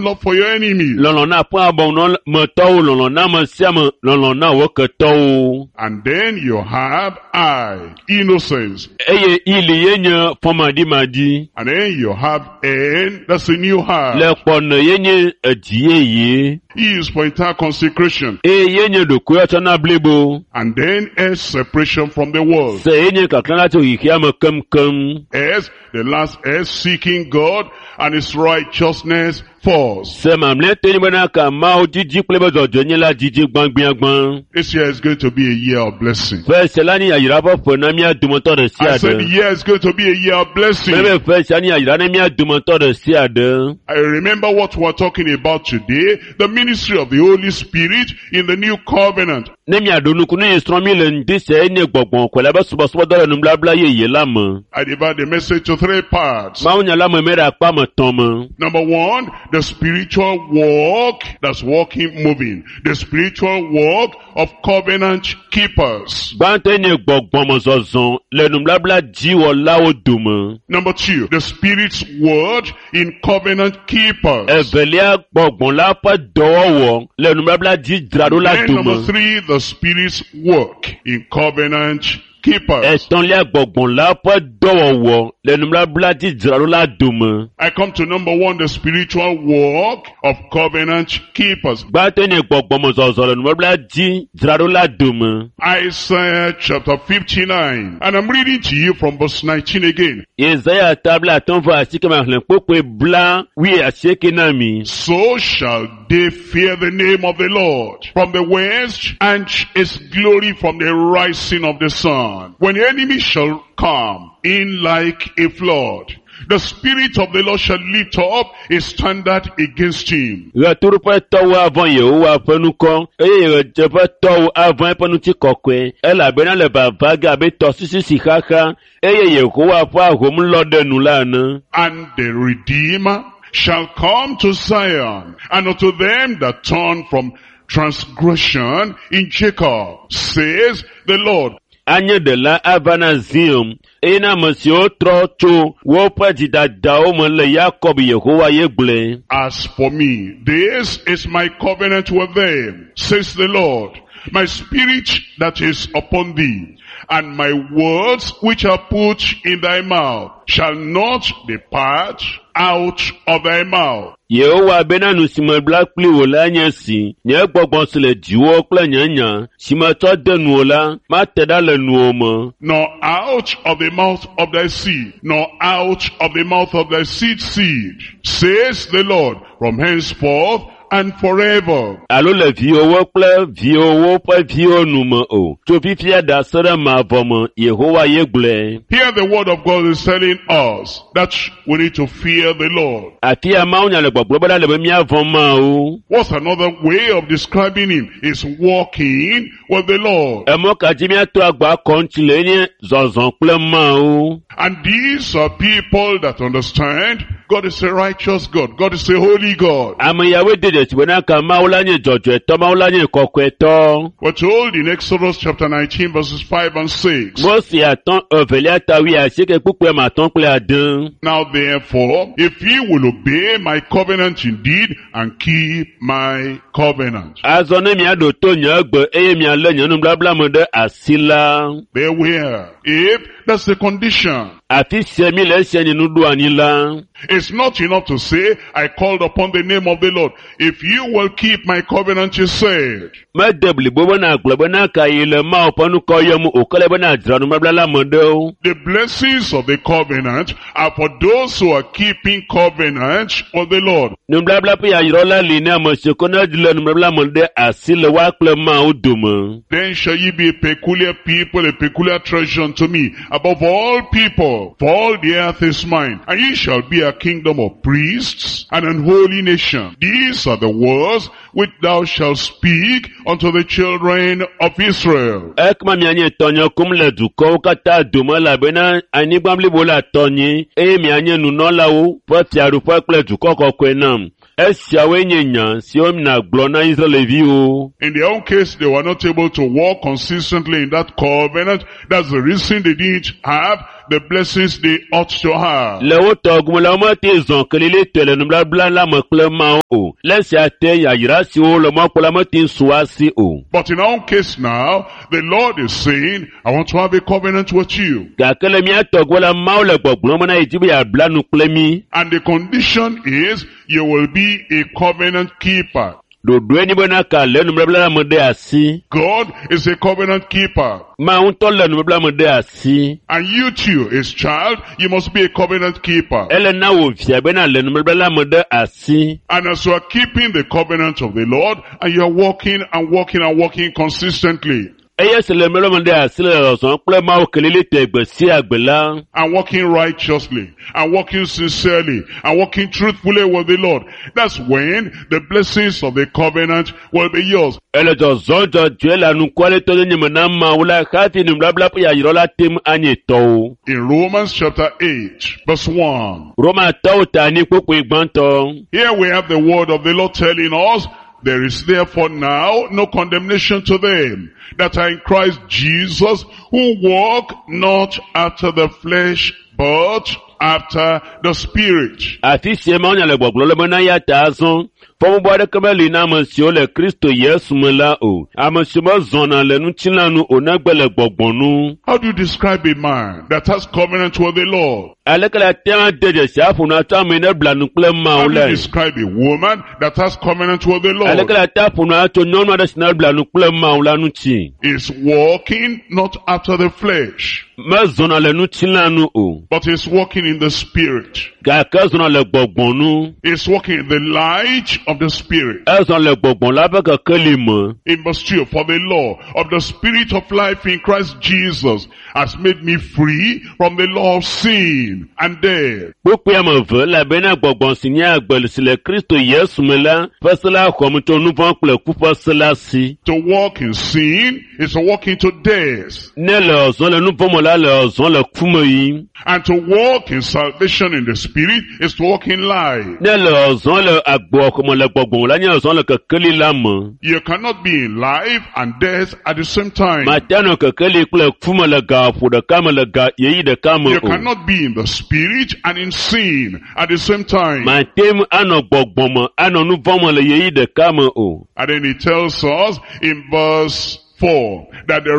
love for your enemies. Lɔlɔ̃ na aƒe abɔnɔmetɔwo, lɔlɔ̃ na ame sia ame, lɔlɔ̃ na wò ketɔwo. And then you have I, innocence. Eye ili ye nye fɔmaɖimaɖi. And then you have N, that's a new heart. Le kpɔnɔ ye nye edzi yeye. E is for entire consecration. Eye ye nye ɖokuiwotsɔna blibo. And then S, separation from the world. Se ye nye kaklã tso xexea me keŋkeŋ. S, the last S, seeking God and His righteousness first. Se mamlɛtɔe nye bena ka Mawu didi kple eƒe dzɔdzɔenyenye la didi gbãgbiagbã. This year is going to be a year of blessing. Ƒe sia la nye yayra ƒe ƒe na mía dometɔ ɖe sia I said the ɖe. year is going to be a year of blessing. Mebe ƒe sia nye yayra na mía dometɔ ɖe sia ɖe. I remember what we're talking about today, the ministry of the Holy Spirit in the new covenant. Ne miaɖo nuku nu yi srɔ̃ mi le ŋdi sia ye nye gbɔgbɔ kɔkɔe la ƒe subɔsubɔdɔ le nubabla yeye la me. I divide the message to three parts. Mawunya la me me ɖe akpa me tɔ̃ me. Number one, the spiritual walk that's walking, moving. The spiritual walk of covenant keepers. Gbãtɔe nye gbɔgbɔmezɔzɔ le nubabla dziwɔlawo dome. Number two, the Spirit's word in covenant keepers. Evelia gbɔgbɔ la ƒe dɔwɔwɔ le nubabla dzidzraɖola Then number dome. three, the Spirit's work in covenant keepers. Etɔ̃lia gbɔgbɔ la ƒe dɔwɔwɔ le nubabla dzidzraɖola dome. I come to number one, the spiritual walk of covenant keepers. Gbãtɔe nye gbɔgbɔmezɔzɔ le nubabla dzidzraɖola dome. Isaiah chapter 59. And I'm reading to you from verse 19 again. Yesaya ta bla atɔ̃ vɔ asike ma xlẽ kpokpoe bla wui asieke na mi. So shall they fear the name of the Lord from the west and his glory from the rising of the sun. When the enemy shall come in like a flood, the Spirit of the Lord shall lift up a standard against him. Ɣetoɖoƒetɔwo avɔ̃ Yehowa ƒe ŋkɔ eye ɣedzeƒetɔwo avɔ̃ eƒe ŋutikɔkɔe elabena le vava ge abe tɔsisi si xaxa eye Yehowa ƒe ahom lɔ ɖe nu la ene. And the Redeemer shall come to Zion, and unto them that turn from transgression in Jacob, says the Lord. Anye ɖela ava na Zion eye na ame siwo trɔ tso woƒe dzidadawo me le Yakob Yehowa ye gblɔe. As for me, this is my covenant with them, says the Lord. My spirit that is upon thee, and my words which are put in thy mouth, shall not depart out of thy mouth. Yehowa bena nu si mebla kpli wò la nye esi, nye gbɔgbɔ si le dziwò kple nye nya si metsɔ de nuwò la, mate ɖa le nuwò me. Nor out of the mouth of thy seed, nor out of the mouth of thy seed seed, says the Lord, from henceforth and forever. Alo le viwòwo kple viwòwo ƒe viwo nu me o. Tso fifia ɖa se ɖe mavɔ me, Yehowa ye gblɔe. Here the word of God is telling us that we need to fear the Lord. Afi ya Mawunya le gbɔgblɔ bena le be míavɔ̃ Mawu. What's another way of describing him? Is walking with the Lord. Emɔ ka dzi míato agba akɔ ŋuti le nye zɔzɔ kple Mawu. And these are people that understand God is a righteous God. God is a holy God. Ame yawoe de dzesi bena ka Mawu la nye dzɔdzɔetɔ, Mawu la nye kɔkɔetɔ. We're told in Exodus chapter 19 verses 5 and 6. Mose atɔ̃ evelia ta wui asieke kpukpui ame atɔ̃ kple ade. Now therefore, if ye will obey my covenant indeed and keep my covenant. Azɔ ne miaɖo to nye gbe eye mialé nye nubabla me ɖe asi la, Beware. If that's the condition. afi sia mi le esia nye nuɖoanyi la. It's not enough to say, I called upon the name of the Lord. If you will keep my covenant, you said. Mede blibo bena agblɔ bena ka yi le Mawu ƒe ŋkɔ yɔm o ke le bena dzra nubabla la me ɖewo. The blessings of the covenant are for those who are keeping covenant with the Lord. Nubabla ƒe yayra la li na ame siwo ke ne le nubabla me ɖe asi le woa kple Mawu dome. Then shall ye be a peculiar people, a peculiar treasure unto me, above all people, for all the earth is mine. And ye shall be a kingdom of priests and an holy nation. These are the words which thou shalt speak unto the children of Israel. Ekema mianye tɔnye kum le dukɔwo katã dome elabena anyigba blibo la tɔnye eye mianye nunɔlawo ƒe fiaɖuƒe kple dukɔ kɔkɔe nam. Esiawoe nye nya siwo nàgblɔ na Israelviwo. In their own case, they were not able to walk consistently in that covenant. That's the reason they didn't have the blessings they ought to have. Le wo tɔ gome la, womete zɔ kelilitɔe le nubabla la me kple Mawu o. Le esia te yayra siwo le mɔ kpɔm la mete su asi o. But in our case now, the Lord is saying, I want to have a covenant with you. Gake le mía tɔ gome la, Mawu le gbɔgblɔm bena yedi be yeabla nu kple mí. And the condition is, you will be a covenant keeper. Ɖoɖoe nye bena ka le nubabla la me ɖe asi. God is a covenant keeper. Mawu ŋutɔ le nubabla me ɖe asi. And you too, his child, you must be a covenant keeper. Ele na wò via bena le nubabla la me ɖe asi. And as you are keeping the covenant of the Lord, and you are walking and walking and walking consistently, Eye si le nubabla me ɖe asi le zɔzɔm kple Mawu kelilitɔe gbe sia gbe la, and walking righteously, and walking sincerely, and walking truthfully with the Lord, that's when the blessings of the covenant will be yours. Ele zɔzɔm dzɔdzɔe le anukwalɛtɔnyenye me na Mawu la hafi nubabla ƒe yayra la te ŋu anye tɔwò. In Romans chapter 8, verse 1, Romatɔwo ta anyi kpukpui gbãtɔ. here we have the word of the Lord telling us, there is therefore now no condemnation to them that are in Christ Jesus, who walk not after the flesh, but after the Spirit. Afi sia Mawu le gbɔgblɔm le bena ya ta azɔ, fɔbubu aɖeke meli na ame siwo le Kristo Yesu me la o. Ame siwo mezɔna le ŋutilã nu o negbe le gbɔgbɔ nu. How do you describe a man that has covenant with the Lord? Aleke le ate ŋu ade dzesi aƒo nu atso ame yi ne bla nu kple How Mawu do you lae? describe a woman that has covenant with the Aleke Lord? le ate aƒo nu atso nyɔnu aɖe si ne bla nu kple Mawu la ŋuti? Is walking not after the flesh, Mezɔna le ŋutilã nu o, but is walking in the Spirit. gake ezɔna le gbɔgbɔ nu. Is walking in the light of the Spirit. Ezɔ le gbɔgbɔ la ƒe kekeli me. In verse 2, for the law of the Spirit of life in Christ Jesus has made me free from the law of sin and death. Kpukpui ame eve elabena gbɔgbɔ si nye agbe si le Kristo Yesu me la ƒe se la xɔm tso nu vɔ̃ kple ku ƒe se la si. To walk in sin is to walk into death. Ne le zɔm le nu vɔ̃ me la, le zɔm le ku me yim. And to walk in salvation in the Spirit is to walk in life. Ne le zɔm le agbe me le gbɔgbɔ me la, nye zɔm le kekeli la me. You cannot be in life and death at the same time. Mate anɔ kekeli kple ku me le gaƒo ɖeka me le ga ɣeyiɣi ɖeka me You o. cannot be in the Spirit and in sin at the same time. Mate ŋu anɔ gbɔgbɔ me, anɔ nu vɔ̃ me le ɣeyiɣi ɖeka me o. And then he tells us in verse 4 that the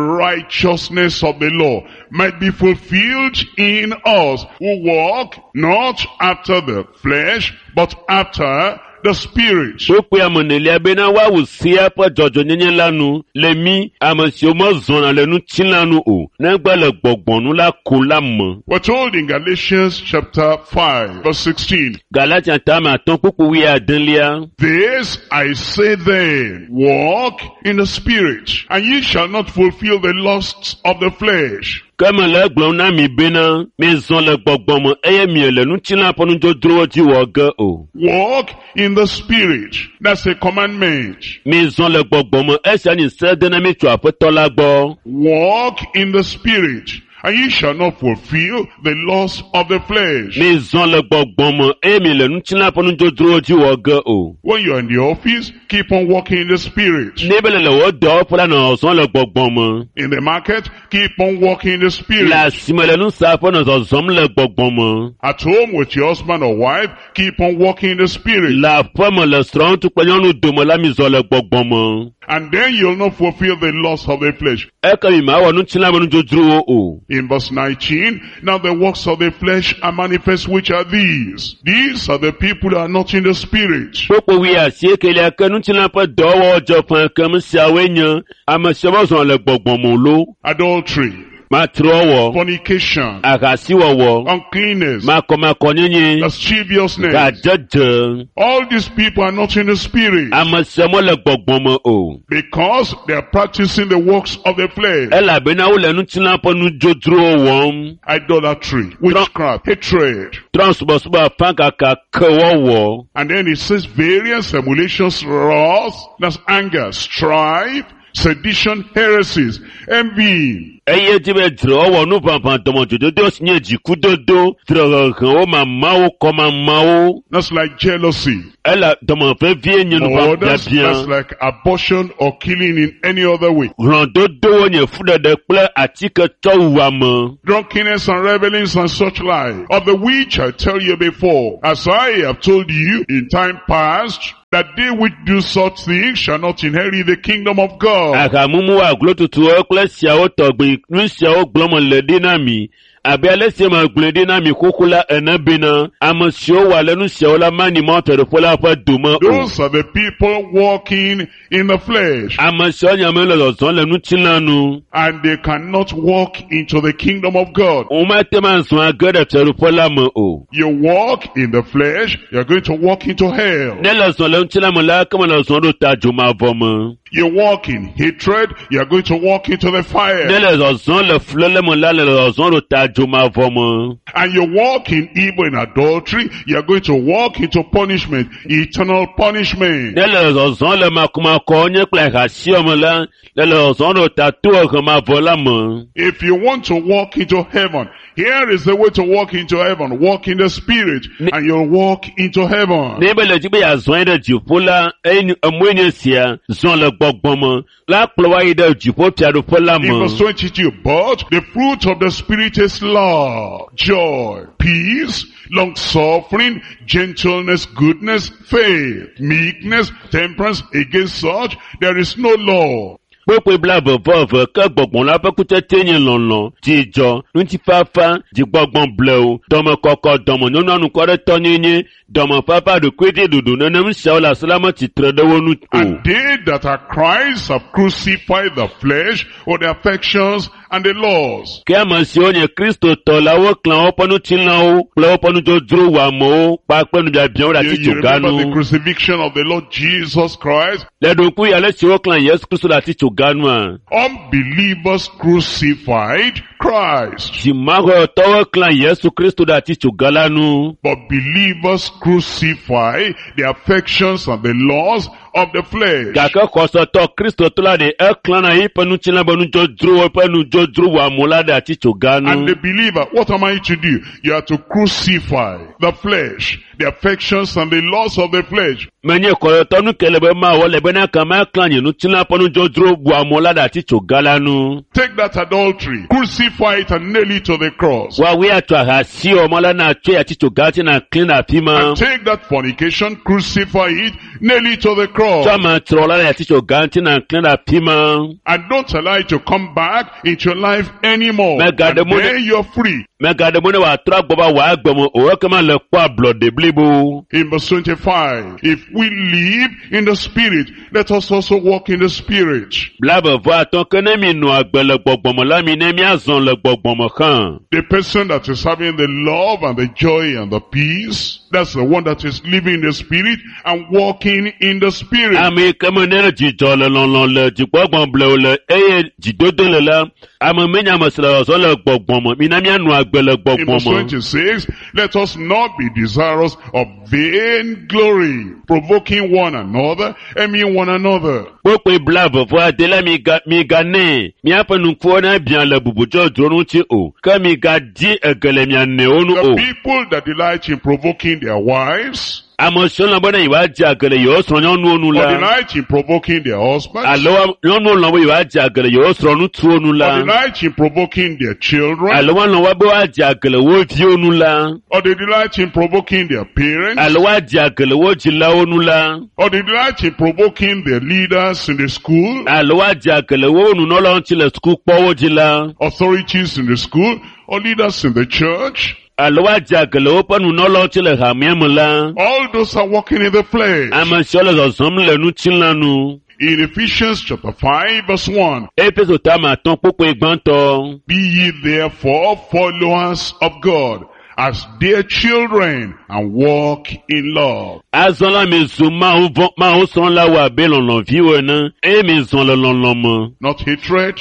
righteousness of the law might be fulfilled in us who walk not after the flesh, but after the Spirit. Kpukpui ame enelia bena woawu sea ƒe dzɔdzɔnyenye la nu le mí ame siwo mezɔna le ŋutilã nu o, negbe le gbɔgbɔ nu la ko la me. We're told in Galatians chapter 5 verse 16, Galatia tame atɔ̃ kpukpui wuiadelia. This I say then, walk in the Spirit, and ye shall not fulfill the lusts of the flesh. Ke mele egblɔm na mi bena mizɔ le gbɔgbɔ me eye miele ŋutilã ƒe nudzodzrowo dzi wɔ ge o. Walk in the Spirit. That's a commandment. Mizɔ le gbɔgbɔ me esia nye se de na mi tso Aƒetɔ la gbɔ. Walk in the Spirit, and ye shall not fulfill the lust of the flesh. Mizɔ le gbɔgbɔ me eye miele ŋutilã ƒe nudzodzrowo dzi wɔ ge o. When you're in the office, keep on walking in the Spirit. Ne be le le wò dɔwɔƒe la nɔ zɔm le gbɔgbɔ me. In the market, keep on walking in the Spirit. Le asime le nusaƒe nɔ zɔzɔm le gbɔgbɔ me. At home with your husband or wife, keep on walking in the Spirit. Le aƒe me le srɔ̃ŋutsu kple nyɔnu dome la mizɔ le gbɔgbɔ me. And then you'll not fulfill the lust of the flesh. Eke mi mawɔ ŋutilã me nudzodzrowo o. In verse 19, now the works of the flesh are manifest, which are these. These are the people who are not in the Spirit. Kpukpui wuiasiekelia ke ŋutilã ƒe dɔwɔwɔ dze ƒã kem siawoe nye ame siwo mezɔ le gbɔgbɔ me o lo. Adultery, Matrɔwɔ, fornication, ahasiwɔwɔ, uncleanness, makɔmakɔnyenye, lasciviousness. gadzedze. All these people are not in the Spirit Ame siawo mele gbɔgbɔ me o. because they are practicing the works of the flesh. Elabena wole ŋutilã ƒe nudzodzrowo wɔm. Idolatry, witchcraft, hatred. Trɔ̃subɔsubɔ afãkaka kewɔwɔ. And then it says various emulations, wrath, that's anger, strife, sedition, heresies, envy, Eye dzi be dzrewɔwɔ nuʋaʋã dɔmedzododo si nye dzikudodo, dzrehehewo mamawo kɔmamawo. That's like jealousy. Ele dɔme vevie nye Or that's nuʋabiabia. like abortion or killing in any other way. Hlɔ̃dodowo nye fuɖeɖe kple atike tsɔwuame. Drunkenness and revelings and such like, of the which I tell you before, as I have told you in time past, that they which do such things shall not inherit the kingdom of God. Ahamumu aglotutuwo kple siawo tɔgbi nu siawo gblɔm le ɖi na mi abe ale si me gblɔe ɖi na mi xoxo la ene bena ame siwo wɔ ale nu siawo la manyi Mawu Fiaɖuƒe la ƒe dome o. Those are the people walking in the flesh, Ame siawo nye amewo le zɔzɔm le ŋutilã nu. and they cannot walk into the kingdom of God. Womate ŋu azɔ age ɖe fiaɖuƒe la me o. You walk in the flesh, you're going to walk into hell. Ne le zɔ le ŋutilã me la, ke me le zɔ ɖo ta dzomavɔ me. You walk in hatred, you're going to walk into the Ne fire. le zɔzɔm le fuléle me la, le zɔzɔm ɖo ta dzomavɔ me. And you walk in evil and adultery, you're going to walk into punishment, eternal punishment. Ne le zɔzɔm le makumakɔ nye kple ahasiɔ me la, le le zɔzɔm ɖo ta tohehe la me. If you want to walk into heaven, here is the way to walk into heaven. Walk in the spirit and you'll walk into heaven. Ne be le dzi be yeazɔ yi ɖe dziƒo la, eye emɔe nye sia, zɔ le gbɔgbɔ me, la kplɔ wa yi ɖe dziƒo fiaɖuƒe la In me. verse 22, but the fruit of the spirit is love, joy, peace, long suffering, gentleness, goodness, faith, meekness, temperance. Against such there is no law. Kpekpe 22 ke gbɔgbɔ la ƒe kutsetse nye lɔlɔ̃, dzidzɔ, ŋutifafa, dzigbɔgbɔ blewu, dɔmekɔkɔ, dɔmenyonyo anukwaretɔnyenye, dɔmefafa, ɖokuidziɖuɖu nenem siawo le asi la metsitre ɖe wo nu o. And they that are Christ have crucified the flesh with the affections and the laws. Ke ame siwo nye Kristotɔ la woklã woƒe ŋutilãwo kple woƒe nudzodzro wɔamewo kpakple nubiabiawo ɖe You remember the atitsoga nu. crucifixion of the Lord Jesus Christ? Le ɖokui ale si woklã Yesu Kristo ɖe atitsoga nua, Unbelievers crucified Christ. dzimaxɔtɔwo klã Yesu Kristo ɖe atitsoga la nu. But believers crucify the affections and the laws of the flesh. Gake xɔsetɔ Kristotɔ la ɖe eklãna eƒe ŋutilã be nudzodzrowo ƒe nudzodro wɔamewo la ɖe atitsoga And nu. the believer, what am I to do? You are to crucify the flesh, the affections and the laws of the flesh. Menye xɔsetɔ nu ke le be mawɔ le bena kama klã nye ŋutilã ƒe nudzodzro wɔamewo la ɖe atitsoga la nu. Take that adultery, crucify it and nail it to the cross. Woawoe atsɔ ahasi wɔmɔ la na tsɔe atitsoga dzi na klẽ ɖe afi ma. And take that fornication, crucify it, nail it to the cross. Tsɔ amatrɔ la ɖe atitsoga ŋuti na klẽ ɖe afi ma. And don't allow it to come back into your life anymore. My God, And the money- then you're free. Mègaɖe mɔ ne wòatrɔ agbɔ va wò agbe me o, ekema le kpɔ ablɔɖe blibo. In verse 25, if we live in the Spirit, let us also walk in the Spirit. 25 ke ne mi nɔ agbe le gbɔgbɔ me la mi ne miazɔ le gbɔgbɔ me hã. The person that is having the love and the joy and the peace, that's the one that is living in the Spirit and walking in the Spirit. Ame yi ke me ne le dzidzɔ le lɔlɔ le dzigbɔgbɔ blewu le eye dzidodo le la, ame menye ame si le zɔzɔm le gbɔgbɔ me. Mina mianɔ agbe le In gbɔgbɔ verse me. 26, let us not be desirous of vain glory, provoking one another, envying one another. Kpokpoe 29 la miga miganɛ miaƒe nukuwo nebia le bubudzɔdzro ŋuti o, ke migadi ege le mia nɔewo nu The o. people that delight in provoking their wives, Ame siwo lɔ̃ bena yewoadze age le yewo srɔ̃nyɔnuwo nu or la, delight in provoking their husbands, alo nyɔnuwo lɔ̃ be yewoadze age le yewo srɔ̃ŋutsuwo nu or la, delight in provoking their children, alo woalɔ̃ woa be woadze age le wo viwo nu la, or they delight in provoking their parents, alo woadze age le wo dzilawo nu la, or they delight in provoking their leaders in the school, alo woadze age le wo nunɔlawo ŋuti le sukukpɔwo dzi la, authorities in the school, or leaders in the church. alo woadze age le woƒe nunɔlawo ŋuti le hamea me la. All those are walking in the flesh. Ame siwo le zɔzɔm le ŋutilã nu. In Ephesians chapter 5 verse 1, Efeso tame 5 kpukpui gbãtɔ. Be ye therefore followers of God as dear children and walk in love. Azɔ la mi zu Mawu vɔ Mawu srɔ̃lawo abe lɔlɔ̃viwo ene eye mi zɔ le lɔlɔ̃ me. Not hatred,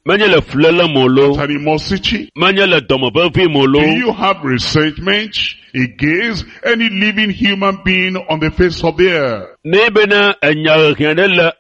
Menye le fuléle me o loo, not animosity. menye le dɔmevevi me o Do loo. you have resentment against any living human being on the face of the earth? Ne bena enya hehe ɖe le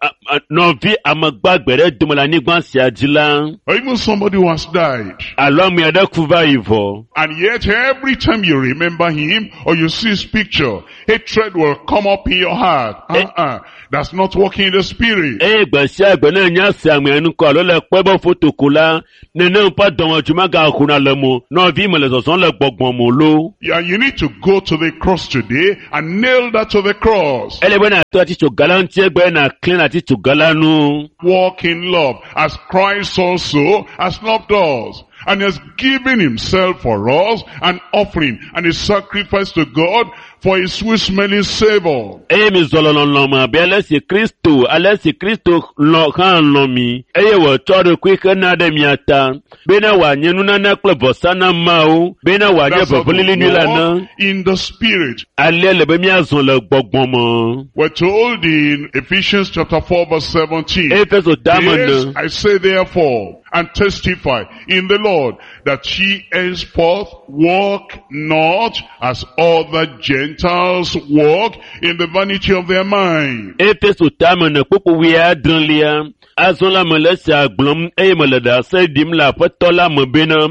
nɔvi amegbagbe ɖe dome le anyigba sia dzi la, or even somebody who has died, alo ame aɖe ku va yi vɔ. and yet every time you remember him or you see his picture, hatred will come up in your heart. Uh-uh. That's not walking in the spirit. Eye gbe sia gbe ne nya se amea ŋkɔ alo le kpɔe be foto ko la, nenem ƒe dɔmedzoe magaxɔna le mo. Nɔvi me le zɔzɔm le gbɔgbɔ me lo. Yeah, you need to go to the cross today and nail that to the cross. Ele be nàtɔ atitsoga la ŋuti egbe nàklẽ le atitsoga la nu. Walk in love as Christ also has loved us and has given himself for us an offering and a sacrifice to God for a sweet smelling savor. Eye mi zɔ le lɔlɔ̃ me abe ale si Kristo ale si Kristo lɔ̃ hã lɔ̃ mi eye wòtsɔ eɖokui hena ɖe mia ta bena wòanye nunana kple vɔsa na Mawu bena wòanye That's how to vevelili nyui la na. walk in the spirit. Alea le be míazɔ le gbɔgbɔ me. We're told in Ephesians chapter 4 verse 17. Efeso tame This ne. I say therefore, and testify in the Lord, that ye henceforth walk not as other Gentiles walk in the vanity of their mind. Efeso tame ne kpukpu wuiadrelia. Azɔ la mele esia gblɔm eye mele ɖase ɖim le aƒetɔ la me bena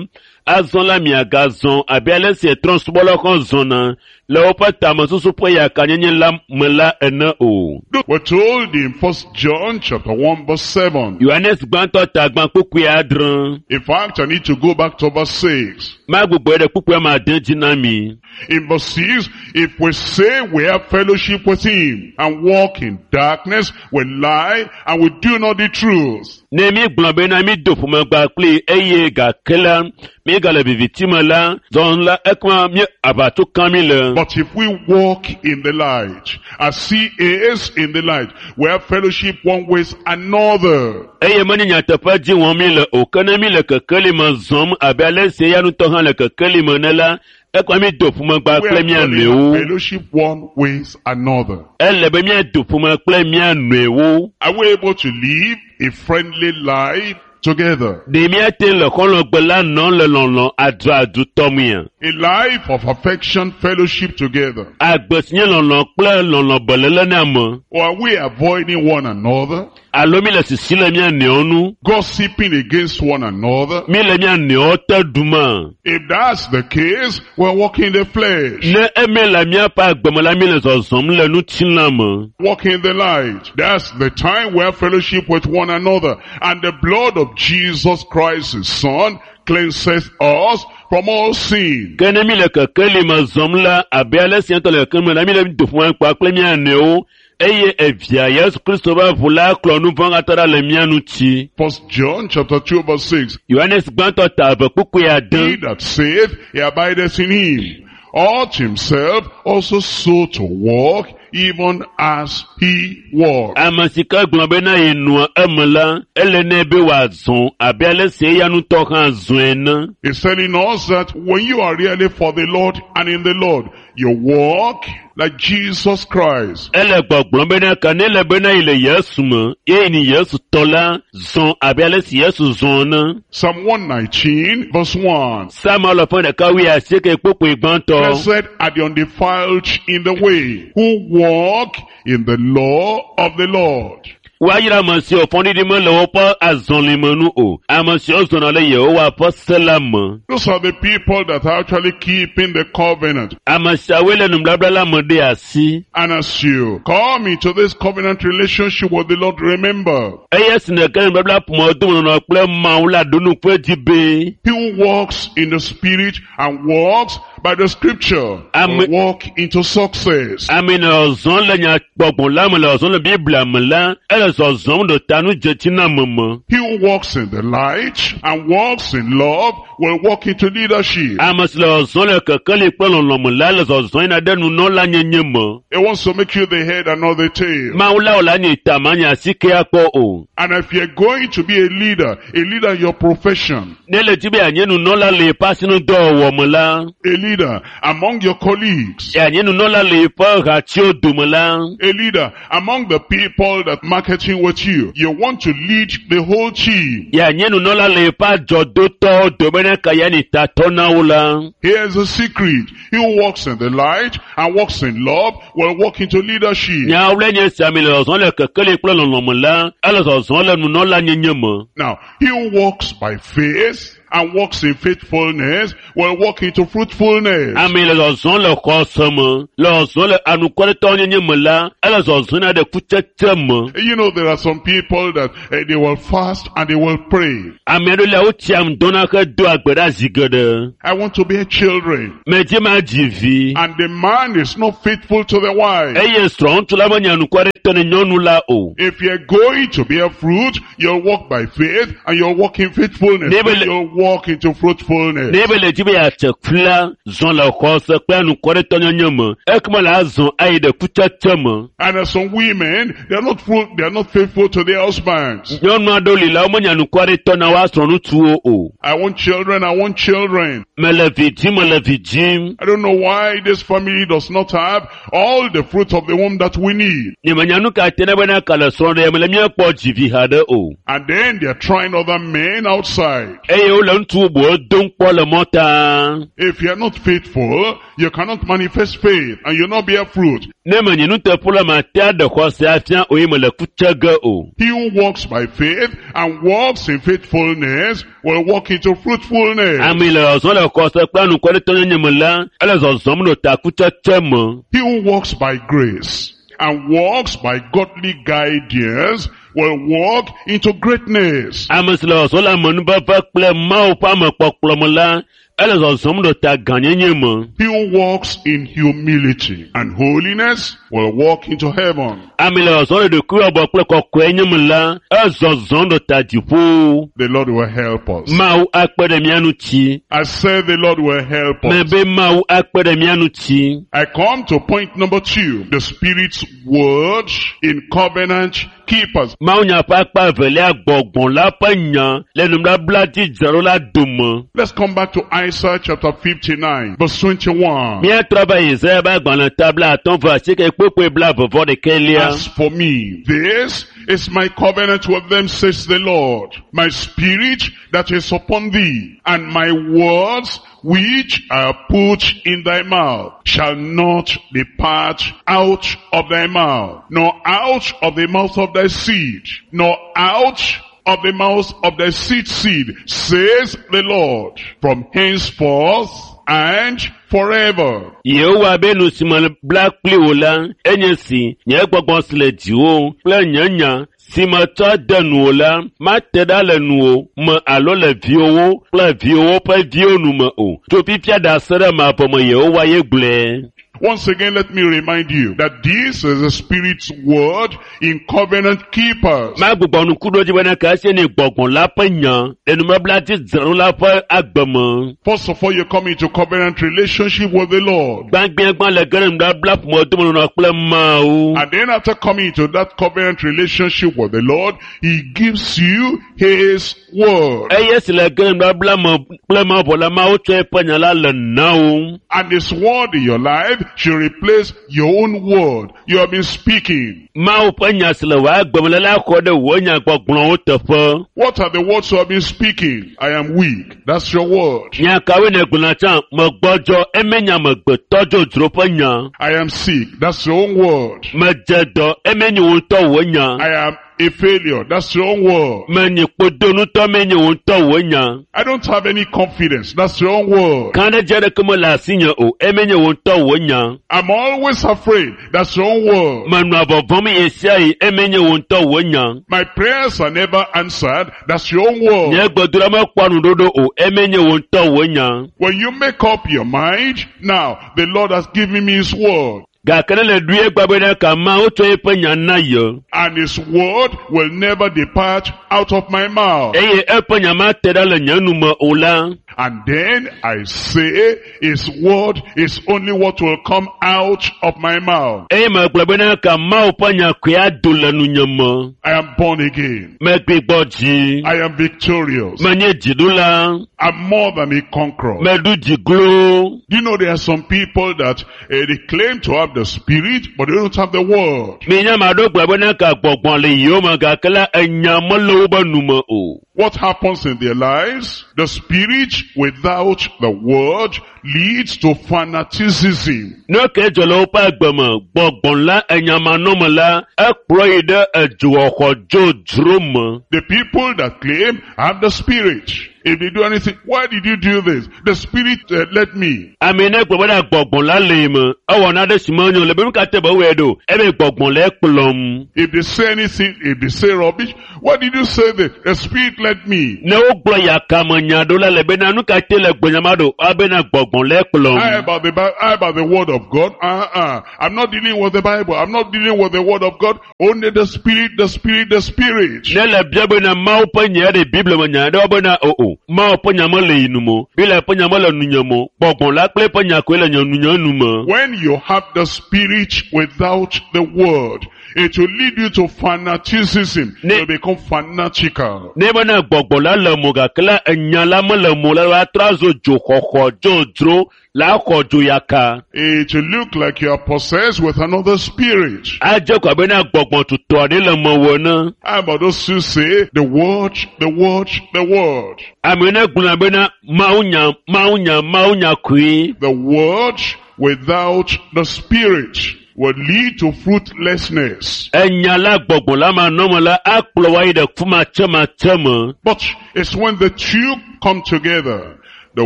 azɔ la miagazɔ abe ale si trɔ̃subɔlawo hã zɔna le woƒe tamesusu ƒe yakanyenye la me la ene o. We're told in 1 John chapter 1 verse 7. Yohanes gbãtɔ ta gbã kpukpui adre. In fact, I need to go back to verse 6. Magbugbɔe ɖe kpukpui ame ade dzi na mi. In verse 6, if we say we have fellowship with him and walk in darkness, we lie and we do not the truth. Ne mi gblɔ bena mi do ƒomegba kpli eye gake la mi gale viviti me la zɔn la ekema mi aʋatso kam mi le. But if we walk in the light, as he is in the light, we have fellowship one with another. Eye menye nyateƒe dzi wɔm mi le o ke ne mi le kekeli me zɔm abe ale si eya ŋutɔ hã le kekeli me ene la ekema mi do ƒomegba We kple are mía actually have nɔewo. fellowship one with another. Ele be míado ƒome kple mía nɔewo. Are we able to live a friendly life together? Ɖe míate le xɔlɔ̃gbe la nɔm le lɔlɔ̃ aduadu tɔmea? A life of affection, fellowship together. Agbe si nye lɔlɔ̃ kple lɔlɔ̃ beléle na ame. Or are we avoiding one another? Alo mi le sisi le mía nɔewo nu? Gossiping against one another? Mi le mía nɔewo te ɖuma? If that's the case, we're walking in the flesh. Ne eme le míaƒe agbe me la, mi le zɔzɔm le ŋutilã me. Walk in the light. That's the time we have fellowship with one another. And the blood of Jesus Christ, his son, cleanses us from all sin. Ke ne mi le kekeli me zɔm la, abe ale si ŋutɔ le kekeli me la, mi le do ƒome kpa kple mía nɔewo eye evia Yesu Kristo ƒe ʋu la klɔ nu vɔ̃ katã ɖa le mía ŋuti. First John chapter 2 verse 6. Yohanes gbãtɔ ta eve kpukpui He ade. that saith he abideth in him, ought himself also so to walk, even as he walked. Ame si ke gblɔ bena yenɔa eme la, ele nɛ be wòazɔ abe ale si eya ŋutɔ hã zɔe ene. He's telling us that when you are really for the Lord and in the Lord, you walk like Jesus Christ. Ele gbɔgblɔm bena ke ne le bena yi le Yesu me, ye ni Yesu tɔ la, zɔ abe ale si Yesu zɔ ene. Psalm 119 verse 1. Psalm alafa ɖeka wuiasieke kpukpui gbãtɔ. Blessed are the undefiled in the way, who walk in the law of the Lord. Woayra ame siwo fɔɖiɖi mele woƒe azɔlime nu o. Ame siwo zɔna le Yehowa ƒe se la me. Those are the people that are actually keeping the covenant. Ame siawoe le nubabla la me ɖe asi. And as you come into this covenant relationship with the Lord, remember, Eye si nèke nubabla ƒomewo dome nɔnɔ kple Mawu la ɖo nu ƒe dzi be he who walks in the Spirit and walks by the Scripture Amen. will walk into success. ame le zɔzɔm le nyagbɔgbɔ la me le zɔzɔm le Biblia me la, ele zɔzɔm ɖo ta nu dzetsiname me. He who walks in the light and walks in love will walk into leadership. Ame si le zɔzɔm le kekeli kple lɔlɔ̃ me la le zɔzɔm yina ɖe nunɔla nyenye me. He wants to make you the head and not the tail. Mawu la wò la nye ta ma nye asike akpɔ o. And if you're going to be a leader in your profession, Ne le dzi be yeanye nunɔla le yeƒe asinudɔwɔwɔ me la, a leader among your colleagues, yeanye nunɔla le yeƒe hatiwo dome la, a leader among the people that market collaborating with you. You want to lead the whole team. Yeanye nunɔla le yeƒe adzɔdotɔwo dome ne ka yanyi tatɔ na wo la. Here's the secret. He who walks in the light and walks in love will walk into leadership. Nyawo le nye sia mi le zɔzɔm le kekeli kple lɔlɔ̃me la, ele zɔzɔm le nunɔla nyenye me. Now, he who walks by faith and walks in faithfulness will walk into fruitfulness. Ame yi le zɔzɔm le xɔse me, le zɔzɔm le anukwaretɔwo nyenye me la, ele zɔzɔm na ɖe kutsetse me. You know, there are some people that they will fast and they will pray. Ame aɖewo lia wotsia ŋdɔna hedoa gbe ɖa zi geɖe. I want to bear children. Medzi ma dzi vi. And the man is not faithful to the wife. Eye srɔ̃ŋutsu la menye anukwaretɔ ne nyɔnu la o. If you're going to bear fruit, you'll walk by faith and you'll walk in faithfulness. Never Then you'll walk into fruitfulness. Ne ebe le dzi be yeatse ku la, zɔ le xɔse kple anukwaretɔ nyenye me. Ekema la azɔ ayi ɖe kutsetse me. And there's some women, they are not fruit, they are not faithful to their husbands. Nyɔnu aɖewo li la womenye anukwaretɔ na woa srɔ̃ŋutsuwo o. I want children, I want children. Mele vi dzim, mele vi dzim. I don't know why this family does not have all the fruit of the womb that we need. Nyemenya nu ka te ne bena ka le srɔ̃ɖe me le míekpɔ dzivi haɖe o. And then they are trying other men outside. Eye wole ŋutsu bubuwo dom kpɔ le mɔta. If you are not faithful, you cannot manifest faith and you'll not bear fruit. Ne menye nuteƒe la mate aɖe xɔse afia o ye mele ku tse ge o. He who walks by faith and walks in faithfulness will walk into fruitfulness. Ame yi le zɔzɔm le xɔse kple anukwaretɔnyenye me la, ele zɔzɔm ɖo ta kutsetse me. He who walks by grace and walks by godly guidance will walk into greatness. Ame si le zɔzɔm le amenuveve kple Mawu ƒe amekpɔkplɔ me la, ele zɔzɔm ɖo ta gãnyenye me. He who walks in humility and holiness will walk into heaven. Ame yi le zɔzɔm le ɖokuiwɔbɔ kple kɔkɔenye me la, ezɔzɔm ɖo ta dziƒo. The Lord will help us. Mawu akpe ɖe mía ŋuti. I said the Lord will help us. Mebe Mawu akpe ɖe mía ŋuti. I come to point number 2, the Spirit's word in covenant keepers. Mawu nya ƒe akpa evelia gbɔgbɔ la ƒe nya le nubabla dzi dzraɖo la dome. Let's come back to Isaiah chapter 59, verse 21. Míatrɔ va Yesaya ƒe agbalẽ ta 58 kpukpui 21. As for me, this is my covenant with them, says the Lord. My spirit that is upon thee, and my words which I put in thy mouth, shall not depart out of thy mouth, nor out of the mouth of thy seed, nor out of the mouth of thy seed seed, says the Lord, from henceforth and forever. Yehowa be nu si me bla kpli wò la, enye si, nye gbɔgbɔ si le dziwò kple nye nya si metsɔ de nuwò la, mate ɖa le nuwò me alo le viwòwo kple viwòwo ƒe viwo nu me o. Tso fifia ɖase ɖe mavɔ me Yehowa ye gblɔe. Once again, let me remind you that this is the Spirit's word in covenant keepers. Magbugbɔ ŋku ɖo dzi bena ke esie nye gbɔgbɔ la ƒe nya le nubabla dzi dzraɖo la ƒe agbe me. First of all, you come into covenant relationship with the Lord. Gbãgbãgbã le ge ɖe nubabla ƒomedomenɔnɔ kple Mawu. And then after coming into that covenant relationship with the Lord, He gives you His word. Eye si le ge ɖe nubabla me kple Mawu vɔ la, Mawu tsɔ eƒe nya la le na wo. And His word in your life should replace your own word you have been speaking. Mawu ƒe nya si le wò agbe me la la xɔ ɖe wò nyagbɔgblɔwo teƒe. What are the words you have been speaking? I am weak. That's your word. Nya kawoe nègblɔna tsã? Megbɔdzɔ, eme nye amegbetɔ dzodzro ƒe nya. I am sick. That's your own word. Medze dɔ, eme nye wò ŋutɔ wò nya. I am a failure. That's your own word. Menye kpodonutɔ, eme nye wò ŋutɔ wò nya. I don't have any confidence. That's your own word. Kã ɖe dzi aɖeke mele asinye o, eme nye wò ŋutɔ wò nya. I'm always afraid. That's your own word. Menɔa vɔvɔ̃m ɣe sia ɣi, eme nye wò ŋutɔ wò nya. My prayers are never answered. That's your own word. Nye gbedoɖa mekpɔa nuɖoɖo o, eme nye wò ŋutɔ wò nya. When you make up your mind, now the Lord has given me His word. Gake ne le ɖui egba bena ka Mawu tsɔ eƒe nya na ye. And His word will never depart out of my mouth. Eye eƒe nya mate ɖa le nye nu me o la. And then I say, His word is only what will come out of my mouth. Eye megblɔ bena ka Mawu ƒe nya koe ado le nunye me. I am born again. Megbigbɔ dzi. I am victorious. Menye dziɖula. I'm more than a conqueror. Meɖu dzi glo. Do you know there are some people that they claim to have have the Spirit, but they don't have the Word. Minya ame aɖewo gblɔ bena ka gbɔgbɔ le yewo me gake la enya mele wobe nu me o. What happens in their lives? The Spirit without the Word leads to fanaticism. Ne ke dzɔ le woƒe agbe me, gbɔgbɔ la enyamanɔme la, ekplɔ yi ɖe edzoxɔxɔ dzodzro me. The people that claim have the Spirit. If they do anything, why did you do this? The Spirit led me. Ame ne gblɔ bena gbɔgbɔ la le yi me, ewɔ naɖe si menyo le be nu ka te be wɔe ɖo, ebe gbɔgbɔ le ekplɔm. If they say anything, if they say rubbish, why did you say this? The Spirit led me. Ne wogblɔ yakame nya ɖo la le bena nu ka te le gbenyama ɖo, ebena gbɔgbɔ le How ekplɔm. about the Bible? How about the Word of God? Uh-uh. I'm not dealing with the Bible. I'm not dealing with the Word of God. Only the Spirit, the Spirit, the Spirit. Ne le bia bena Mawu ƒe nya ɖe Biblia me nya ɖe bena o o, Mawu ƒe nya mele yi nu me o, Biblia ƒe nya mele nunye me o, gbɔgbɔ la kple eƒe nya koe le nye nunye nu me. When you have the Spirit without the Word, it will lead you to fanaticism. You become fanatical. Ne bena gbɔgbɔ la le mo gake la enya la mele mo la la trɔ azu dzoxɔxɔ dzodzro la xɔ dzo yaka. It will look like you are possessed with another spirit. Adze ko abe na gbɔgbɔ tutɔ aɖe le mewò ene. How about those who say, the Word, the Word, the Word. Ame ne gblɔna bena Mawu nya, Mawu nya, Mawu nya koe. The Word without the Spirit will lead to fruitlessness. Enya la gbɔgbɔ la manɔme la akplɔ wo ayi ɖe fumatsematse me. But it's when the two come together, the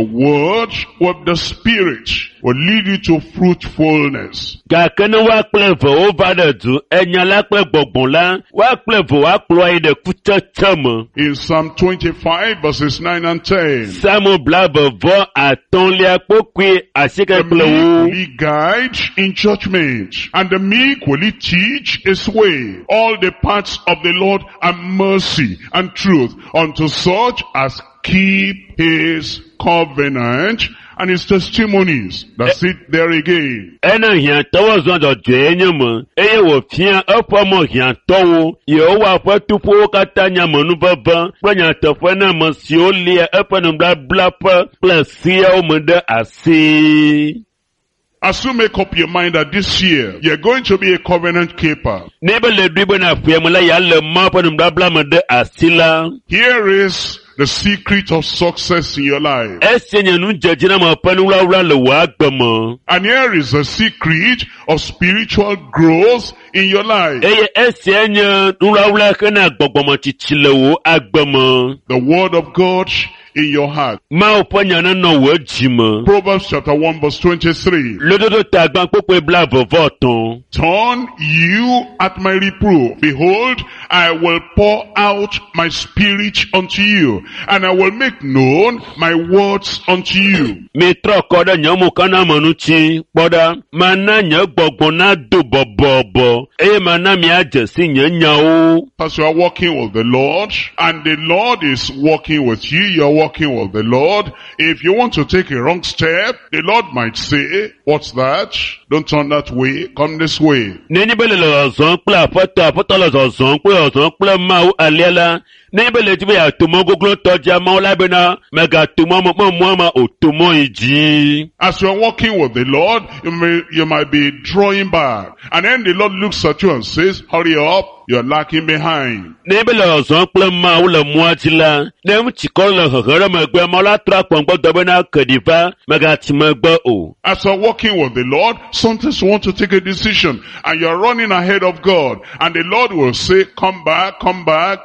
Word with the Spirit will lead you to fruitfulness. Gake ne woa kple eve wova ɖe du, enya la kple gbɔgbɔ la, woa kple eve woakplɔ wo ayi ɖe kutsetse me. In Psalm 25 verses 9 and 10, Psalmo 25 kpokpui asieke the kple meek wo. will he guide in judgment, and the meek will he teach his way. All the paths of the Lord are mercy and truth unto such as keep his covenant and his testimonies. That's it there again. Ena hiãtɔwo zɔ dzɔdzɔe nye me eye wòfia eƒe mɔ hiãtɔwo. Yehowa ƒe tuƒowo katã nye amenuveve kple nyateƒe na ame siwo lia eƒe nubabla ƒe kple seawo me ɖe asi. As you make up your mind that this year you're going to be a covenant keeper, Ne be le ɖoe bena ƒea me la yealé Mawu ƒe nubabla me ɖe asi la, here is the secret of success in your life. esia nye nudzedziname ƒe nuwlawla le wò agbe me. And here is the secret of spiritual growth in your life. Eye esia nye nuwlawla hena gbɔgbɔmetsitsi le wò agbe me. The word of God in your heart. Mawu ƒe nya nenɔ wò dzi me. Proverbs chapter 1 verse 23. Lododo ta gbã kpokpoe 23. Turn you at my reproof. Behold, I will pour out my spirit unto you, and I will make known my words unto you. Mitrɔ kɔ ɖe nye mokaname ŋuti kpɔ ɖa. Mana nye gbɔgbɔ nado bɔbɔbɔ eye mana miadze si nye nyawo. As you are walking with the Lord, and the Lord is walking with you, you are walking with the Lord. If you want to take a wrong step, the Lord might say, what's that? Don't turn that way, come this way. Nenye be le zɔzɔm kple aƒetɔ, aƒetɔ le zɔzɔm kple zɔzɔm kple Mawu alea la, nenye be le dzi be yeato mɔ goglotɔ dzia, Mawu la bena mègato mɔ me mɔ ma o, to mɔ yi dzi. As you are walking with the Lord, you might be drawing back. And then the Lord looks at you and says, hurry up, you're lacking behind. Nenye be le zɔzɔm kple Mawu le mɔa dzi la, ne ŋutikɔ le hehe ɖe megbe, Mawu la trɔ akpɔ ŋgbɔdɔ bena ke ɖi va, mègatsi megbe o. As you're walking with the Lord, sometimes you want to take a decision and you're running ahead of God. And the Lord will say, come back,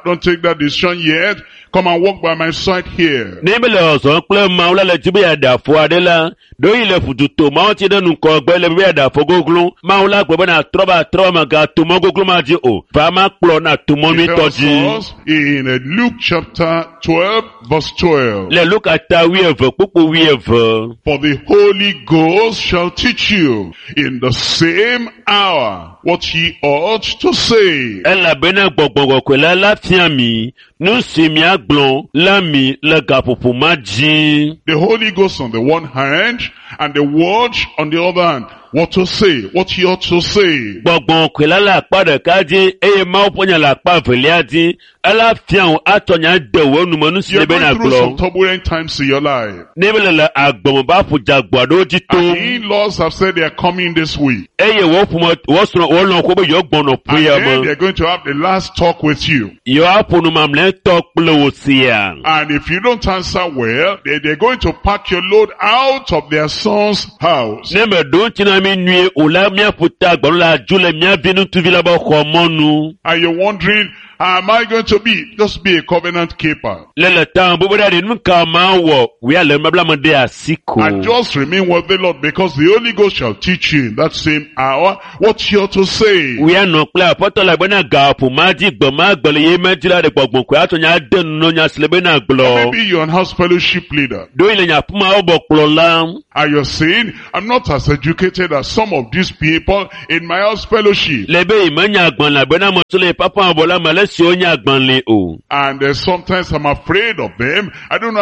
don't take that decision yet. Come and walk by my side here. Ne be le zɔzɔm kple Mawu la le dzi be yeaɖe afɔ aɖe la, ɖewohi le fututo Mawu tsi ɖe ŋgɔgbe le be yeaɖe afɔ goglo. Mawu la gblɔ bena trɔ va trɔ va mègato mɔ goglo ma dzi o. Va ma kplɔ na to mɔ He nyuitɔ tells dzi. us in Luke chapter 12 verse 12. Le Luka ta 12 kpukpu 12. For the Holy Ghost shall teach you in the same hour what ye ought to say. Elabena gbɔgbɔ kɔkɔe la la fia mi nu si miagblɔ la mi le gaƒoƒo ma dzi. The Holy Ghost on the one hand and the word on the other hand. What to say, what you ought to say. Gbɔgbɔ kɔkɔe la le akpa ɖeka dzi eye Mawu ƒe nya le akpa evelia dzi. Ela fia wò atsɔ nya de wò nume nu si You're le be going through some nàgblɔ. turbulent times in your life. Ne be le le agbeme be aƒu dzeagbo aɖewo dzi And tom the in-laws have said they are coming this week. eye wò ƒome wò srɔ̃ wò lɔ̃xo be yewo gbɔnɔ And ƒea then me. they're going to have the last talk with you. Yewoaƒo nu mamlɛtɔ kple wò sia. And if you don't answer well, they're going to pack your load out of their son's house. Ne meɖo ŋuti na mi nyuie o la, míaƒo ta agbalẽ la dzo le mía vi ŋutsuvi la be xɔ mɔnu. And you're wondering, how am I going to be? Just be a covenant keeper. Le le ta me bubu ɖe nu ka ma wɔ, wòya le nubabla me ɖe asi ko. And just remain with the Lord, because the Holy Ghost shall teach you in that same hour what you ought to say. Wòya nɔ kple aƒetɔ la bena gaƒo ma dzi gbe ma gbe le ye me dzi la ɖe gbɔgbɔ koe atsɔ nya de nu nya si le bena gblɔ. Maybe you're an house fellowship leader. Ɖo yi le nye aƒemawo bɔ kplɔ la. And you're saying, I'm not as educated as some of these people in my house fellowship. Le be yi menya agbalẽ bena me tso le papa bɔ la me le si wonya agbalẽ o. And sometimes I'm afraid of them. I don't know.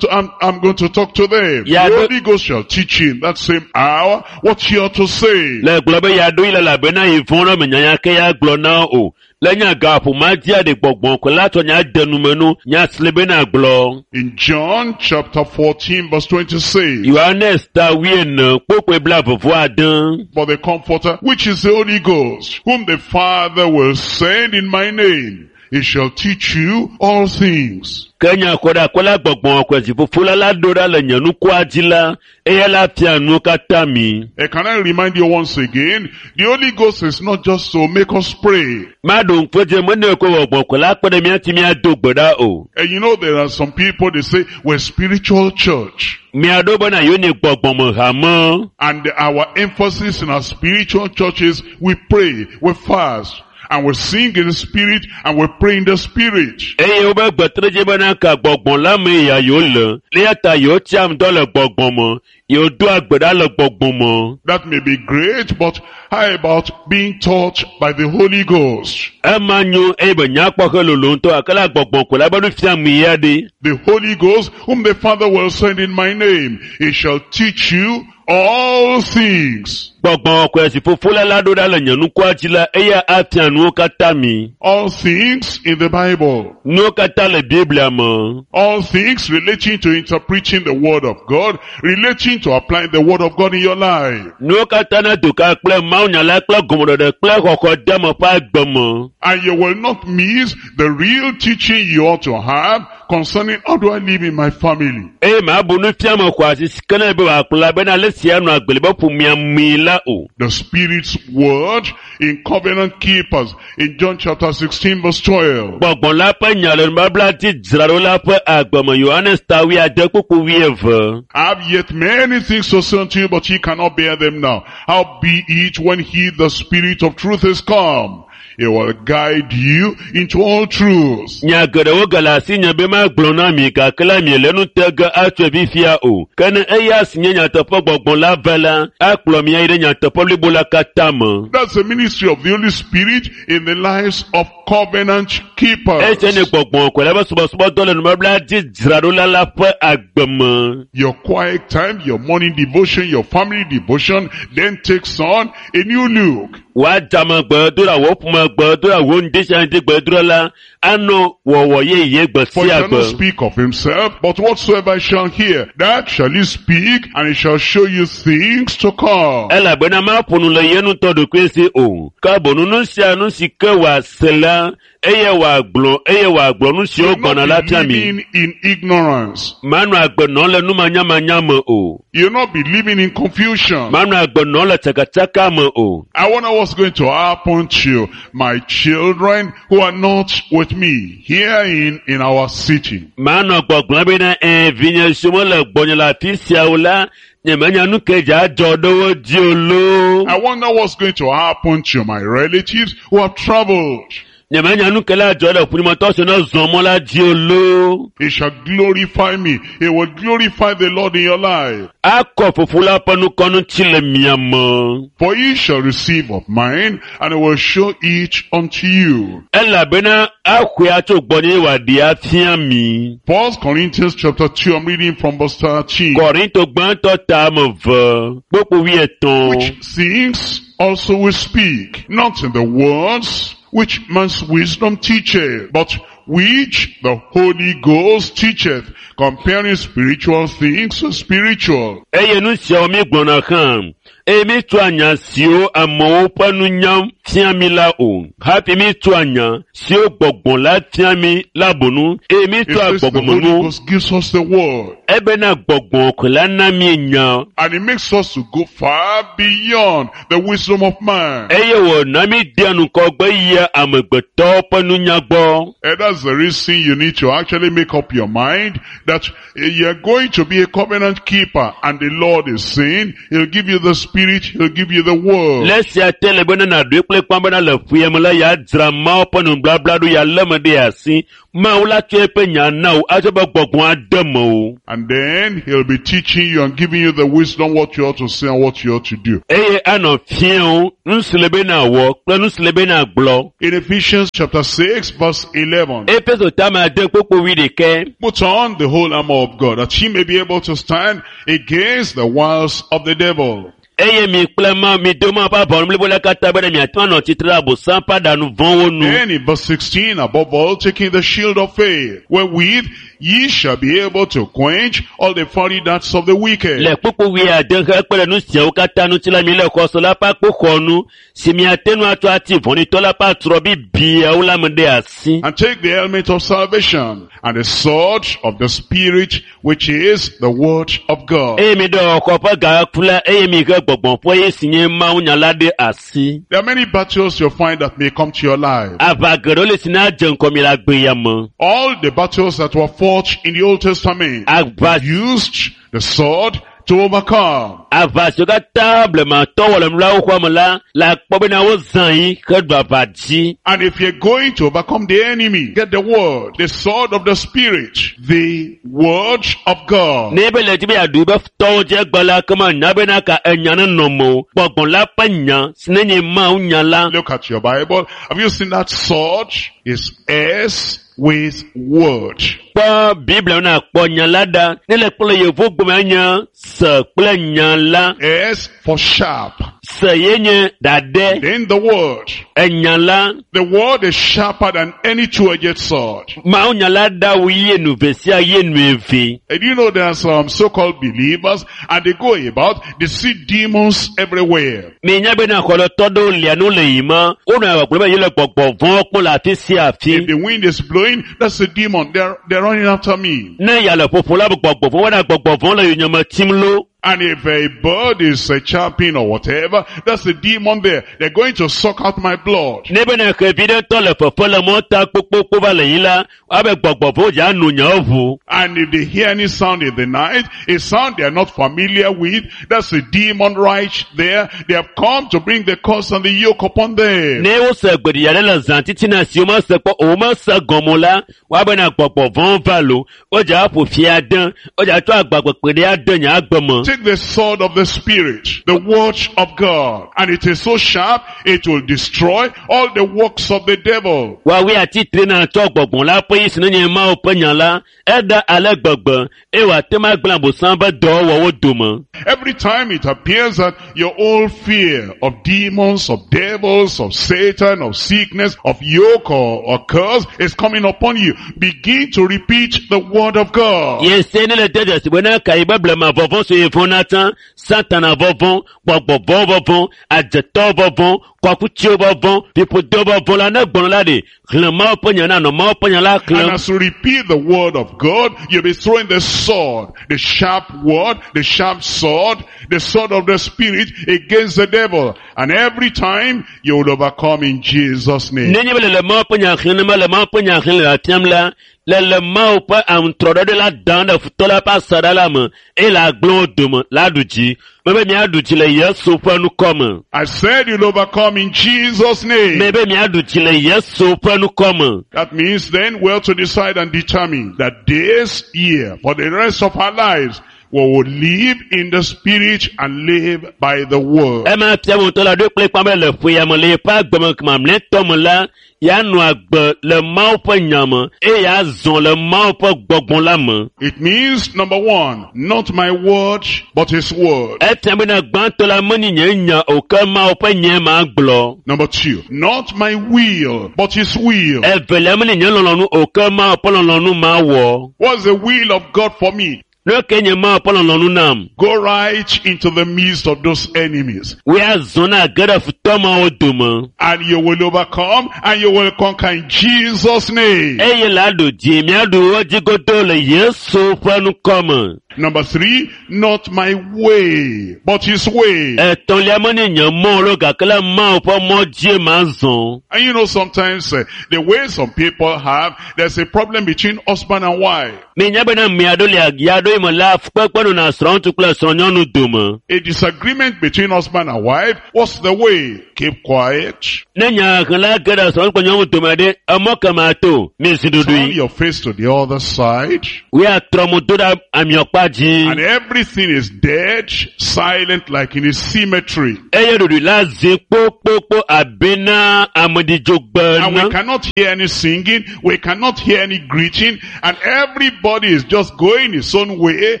I'm going to talk to them. Yeah, the but- Holy Ghost shall teach you in that same hour what you ought to say. Le gblɔ be yeaɖo yi le elabena yi vɔ̃ ɖe menya nya ke ya gblɔ na wo o. Le nya gaƒo ma dzia ɖe gbɔgbɔ koe la tsɔ nya de nume nu nya si le bena gblɔ. In John chapter 14 verse 26. Yohanes ta wuiene kpokpoe blaeve vɔ ade. For the Comforter, which is the Holy Ghost, whom the Father will send in my name, he shall teach you all things. Ke nya xɔ ɖe akɔ la gbɔgbɔ kɔe si fofo la la ɖo ɖa le nye nukua dzi la, eya la fia nuwo katã mi. Can I remind you once again, the Holy Ghost is not just to make us pray. Maɖo ŋku edzi mene ko gbɔgbɔ kɔe la kpe ɖe mía ŋuti míado gbe ɖa o. And you know there are some people, they say, we're spiritual church. Mia ɖo bena yewo nye gbɔgbɔme hame. And our emphasis in our spiritual churches, we pray, we fast, and we sing in the spirit, and we pray in the spirit. Eye wobe gbetre dzi bena ka gbɔgbɔ la me ya yewo le. Eya ta yewo tsia ŋdɔ le gbɔgbɔ me. Yewo doa gbe ɖa le gbɔgbɔ me. That may be great, but how about being taught by the Holy Ghost? Ema nyo eye be nyakpɔ he lolo ŋutɔ gake la gbɔgbɔ ko la be nu fiam ya ɖe. The Holy Ghost, whom the Father will send in my name, he shall teach you all things. Gbɔgbɔ kɔe si fofo la la ɖo ɖa le nye nukua dzi la, eya afia nuwo katã mi. All things in the Bible. Nuwo katã le Biblia me. All things relating to interpreting the Word of God, relating to applying the Word of God in your life. Nuwo katã na do ka kple mawunya la kple gɔmeɖeɖe kple xɔxɔ deme ƒe agbe me. And you will not miss the real teaching you ought to have concerning how do I live in my family. Eye mabu nufiame xɔ asi si ke ne be wòakplɔ la bena ale si anɔ agbe le be ƒomea mee la o. The Spirit's word in Covenant Keepers in John chapter 16 verse 12. Gbɔgbɔ la ƒe nya le nubabla dzi dzraɖo la ƒe agbe me Yohanes ta wuiade kpukpu wuieve. I have yet many things to say unto you, but ye cannot bear them now. How be it when he, the Spirit of truth, is come? He will guide you into all truth. Nya geɖewo gale asinye be magblɔ na mi gake la miele nu te ge atsoe fifia o. Ke ne eya si nye nyateƒe gbɔgbɔ la va la, akplɔ mi ayi ɖe nyateƒe blibo la katã me. That's the ministry of the Holy Spirit in the lives of covenant keepers. Esia nye gbɔgbɔ kɔkɔe la ƒe subɔsubɔdɔ le nubabla dzi dzraɖola la ƒe agbe me. Your quiet time, your morning devotion, your family devotion, then takes on a new look. Wòadzame gbedoɖa, wò ƒome gbedoɖa, wò ŋdisia ŋdi gbedoɖa la anɔ wɔwɔ yeye gbe For he sia shall not gbe. speak of himself, but whatsoever he shall hear, that shall he speak, and he shall show you things to come. Elabena maƒo nu le ye ŋutɔ ɖokui si o. Ke boŋ nu sia nu si ke wòase la, eye wòagblɔ eye wòagblɔ nu siwo You'll gbɔna la not fia be mi. living in ignorance. Manɔ agbe nɔm le numanyamanya me o. You'll not be living in confusion. Manɔ agbe nɔm le tsakatsaka me o. I wonder what's going to happen to my children who are not with me here in our city. Manɔ gbɔgblɔm bena ɛɛ vinye siwo mele gbɔnye le afi sia o la, nyemenya nu ke dze adzɔ ɖe wo dzi o loo. I wonder what's going to happen to my relatives who have traveled. Nyemenya nu ke la dzɔ ɖe ƒulimetɔ si ne zɔ mɔ la dzi o loo. He shall glorify me. He will glorify the Lord in your life. Akɔ fofo la ƒe nukɔ ŋuti le mia me. For ye shall receive of mine, and I will show it unto you. Elabena axɔe atso gbɔnye wòaɖee afia mi. First Corinthians chapter 2, I'm reading from verse 13. Kɔrinto gbãtɔ ta ame eve, kpukpui wuietɔ̃. Which things also we speak, not in the words which man's wisdom teacheth, but which the Holy Ghost teacheth, comparing spiritual things with spiritual. Eye nu siawo mi gblɔna hã, eye mi tsɔa nya siwo amewo ƒe nunya fia mi la o. Hafi mi tsɔa nya siwo gbɔgbɔ la fia mi la bonu, eye mi It tsɔa says the Holy gbɔgbɔmenuwo. Ghost gives us the word, Ebena gbɔgbɔ ko la na mi nya, and it makes us to go far beyond the wisdom of man. eye wòna mi dea ŋgɔgbe yia amegbetɔwo ƒe nunya gbɔ. And that's the reason you need to actually make up your mind that you're going to be a covenant keeper, and the Lord is saying, He'll give you the Spirit, He'll give you the word. Le esia te le bena nàɖoe kple kpã bena le ƒuya me la yeadzra Mawu ƒe nubabla ɖo yealé me ɖe asi. Mawu la tsɔ eƒe nya na wò atsɔ be gbɔgbɔ ade mewò. And then He'll be teaching you and giving you the wisdom what you ought to say and what you ought to do. Eye anɔ fia wo nu si le be nàwɔ kple nu si le be nàgblɔ. In Ephesians chapter 6 verse 11, Efeso tame ade kpukpui wuiɖekɛ. put on the whole armor of God that ye may be able to stand against the wiles of the devil. Eye mi kple ma mi do Mawu ƒe aʋawɔnu blibo la katã bena miate ŋu anɔ tsitre ɖe Abosam ƒe aɖaŋu vɔ̃wo nu. Then in verse 16, above all, taking the shield of faith, wherewith ye shall be able to quench all the fiery darts of the wicked. Le kpukpui wuiade hekpe ɖe nu siawo katã ŋuti la mi le xɔse la ƒe akpoxɔnu si miate ŋu atsɔ ati vɔ̃ɖitɔ la ƒe atrɔ bibiawo la me ɖe asi. And take the helmet of salvation and the sword of the Spirit, which is the word of God. Eye mi ɖe xɔ ƒe gaku la eye mi he gbɔgbɔ ƒe ye si nye Mawunya la ɖe asi. There are many battles you'll find that may come to your life. Aʋa geɖewo le si na dze ŋgɔ mi le agbe ya me. All the battles that were fought in the Old Testament Aʋa used the sword to overcome. aʋa siwo katã blematɔwo wɔ le nulawo xɔa me la le akpɔ bena wozã yi heɖu aʋa dzi. And if you're going to overcome the enemy, get the word, the sword of the Spirit, the word of God. Ne ebe le dzi be yeaɖu yibe futɔwo dzi egbe la kema nya bena ka enya ne nɔ mewò. Gbɔgbɔ la ƒe nya si ne nye Mawu nya la. Look at your Bible. Have you seen that sword? It's S with word. Kpɔ Biblia me nakpɔ nya la ɖa. Ne le kpɔ le yevu gome nye se kple nya la. S for sharp. Se ye nye ɖaɖɛ. Then the word. Enya la. The word is sharper than any two-edged sword. Mawu nya la ɖa wu ye nu ve sia ye nu eve. And you know there are some so-called believers and they go about, they see demons everywhere. Minya bena xɔlɔtɔ ɖewo lia nu le yima. Wonɔ gbɔgblɔm be yele gbɔgbɔ vɔ̃wo kpɔm le afi sia afi. If the wind is blowing, that's a demon. They're running after me. Ne ya le ƒoƒo la be gbɔgbɔ vɔ̃ wɔna gbɔgbɔ vɔ̃ le yonyeme tim lo. And if a bird is chirping or whatever, that's a demon there. They're going to suck out my blood. Ne bena xevi ɖe tɔ le fefe le mɔta kpokpokpo va le yi la, woabe gbɔgbɔ vɔ̃wo dza no nyawo ʋu. And if they hear any sound in the night, a sound they are not familiar with, that's a demon right there. They have come to bring the curse and the yoke upon them. Ne wose gbeɖiɖi aɖe le zã titina si womese kpɔ o womese gɔme o la, woabena gbɔgbɔ vɔ̃wo va lo. Wodza aƒo fi ade, wodza tsɔ agbagbekpe ɖe ade nye agbe me. Take the sword of the Spirit, the word of God, and it is so sharp, it will destroy all the works of the devil. Woawoe atitre na tsɔ gbɔgbɔ la ƒe yi si ne nye Mawu ƒe nya la, eɖa ale gbegbe eye wòate ŋu agblẽ Abosam ƒe dɔwɔwɔwo dome. Every time it appears that your old fear of demons, of devils, of Satan, of sickness, of yoke or curse is coming upon you, begin to repeat the word of God. Yese ne le de dzesi bena ka yi be blema vɔvɔ̃ si vɔ̃na tsã, Satana vɔvɔ̃, gbɔgbɔ vɔ̃ vɔvɔ̃, adzetɔ vɔvɔ̃, kɔkutsiwo vɔvɔ̃, fiƒodewo vɔvɔ̃ la ne gblɔ la ɖe, xlẽ Mawu ƒe nya na nɔ Mawu ƒe nya la And xlẽm. as you repeat the word of God, you'll be throwing the sword, the sharp word, the sharp sword, the sword of the Spirit against the devil. And every time you will overcome in Jesus' name. Nenye be le le Mawu ƒe nya xlẽm ne mele Mawu ƒe nya xlẽm le afiam la, Le le Mawu ƒe aŋutrɔɖɔɖɔ la dam ɖe futɔ la ƒe asaɖa la me eye le agblẽ wo dome la ɖu dzi. Mebe miaɖu dzi le Yesu ƒe ŋkɔ me. I said you'll overcome in Jesus' name. Mebe miaɖu dzi le Yesu ƒe ŋkɔ me. That means then we have to decide and determine that this year, for the rest of our lives, we will live in the spirit and live by the word. Ema fia be ŋutɔ la ɖoe kple kpã be le ƒe ya me le yeƒe agbeme mamlɛtɔ me la, yeanɔ agbe le Mawu ƒe nya me eye yeazɔ le Mawu ƒe gbɔgbɔ la me. It means, number one, not my word, but his word. Efia bena gbãtɔ la menye nye nya o ke Mawu ƒe nyae ma gblɔ. Number two, not my will, but his will. Evelia menye nye lɔlɔ̃nu o ke Mawu ƒe lɔlɔ̃nu ma wɔ. What's the will of God for me? Nu ke nye Mawu ƒe lɔlɔ̃nu nam. Go right into the midst of those enemies Woazɔ na ge ɖe futɔ mawo dome. and you will overcome and you will conquer in Jesus' name. Eye la ɖu dzi miaɖu wo dzi godoo le Yesu ƒe ŋkɔ me. Number three, not my way, but his way. Etɔ̃lia menye nye mɔ lo gake le Mawu ƒe mɔ dzie ma zɔ. And you know, sometimes the way some people have, there's a problem between husband and wife. Minya bena ame aɖewo le ya ɖo yi me la fukpekpe nɔna srɔ̃ŋutsu kple srɔ̃nyɔnu dome. A disagreement between husband and wife, what's the way? Keep quiet. Ne nya hela ge ɖe srɔ̃ŋutsu kple nyɔnu dome ɖe, emɔ ke ma to, mizi Turn ɖuɖui. your face to the other side. Woatrɔ mo do ɖe amiɔkpa dzi. And everything is dead, silent like in a cemetery. Eye ɖuɖui la zi kpokpokpo abe na ameɖidzogbe And we ene. cannot hear any singing, we cannot hear any greeting, and everybody is just going his own way.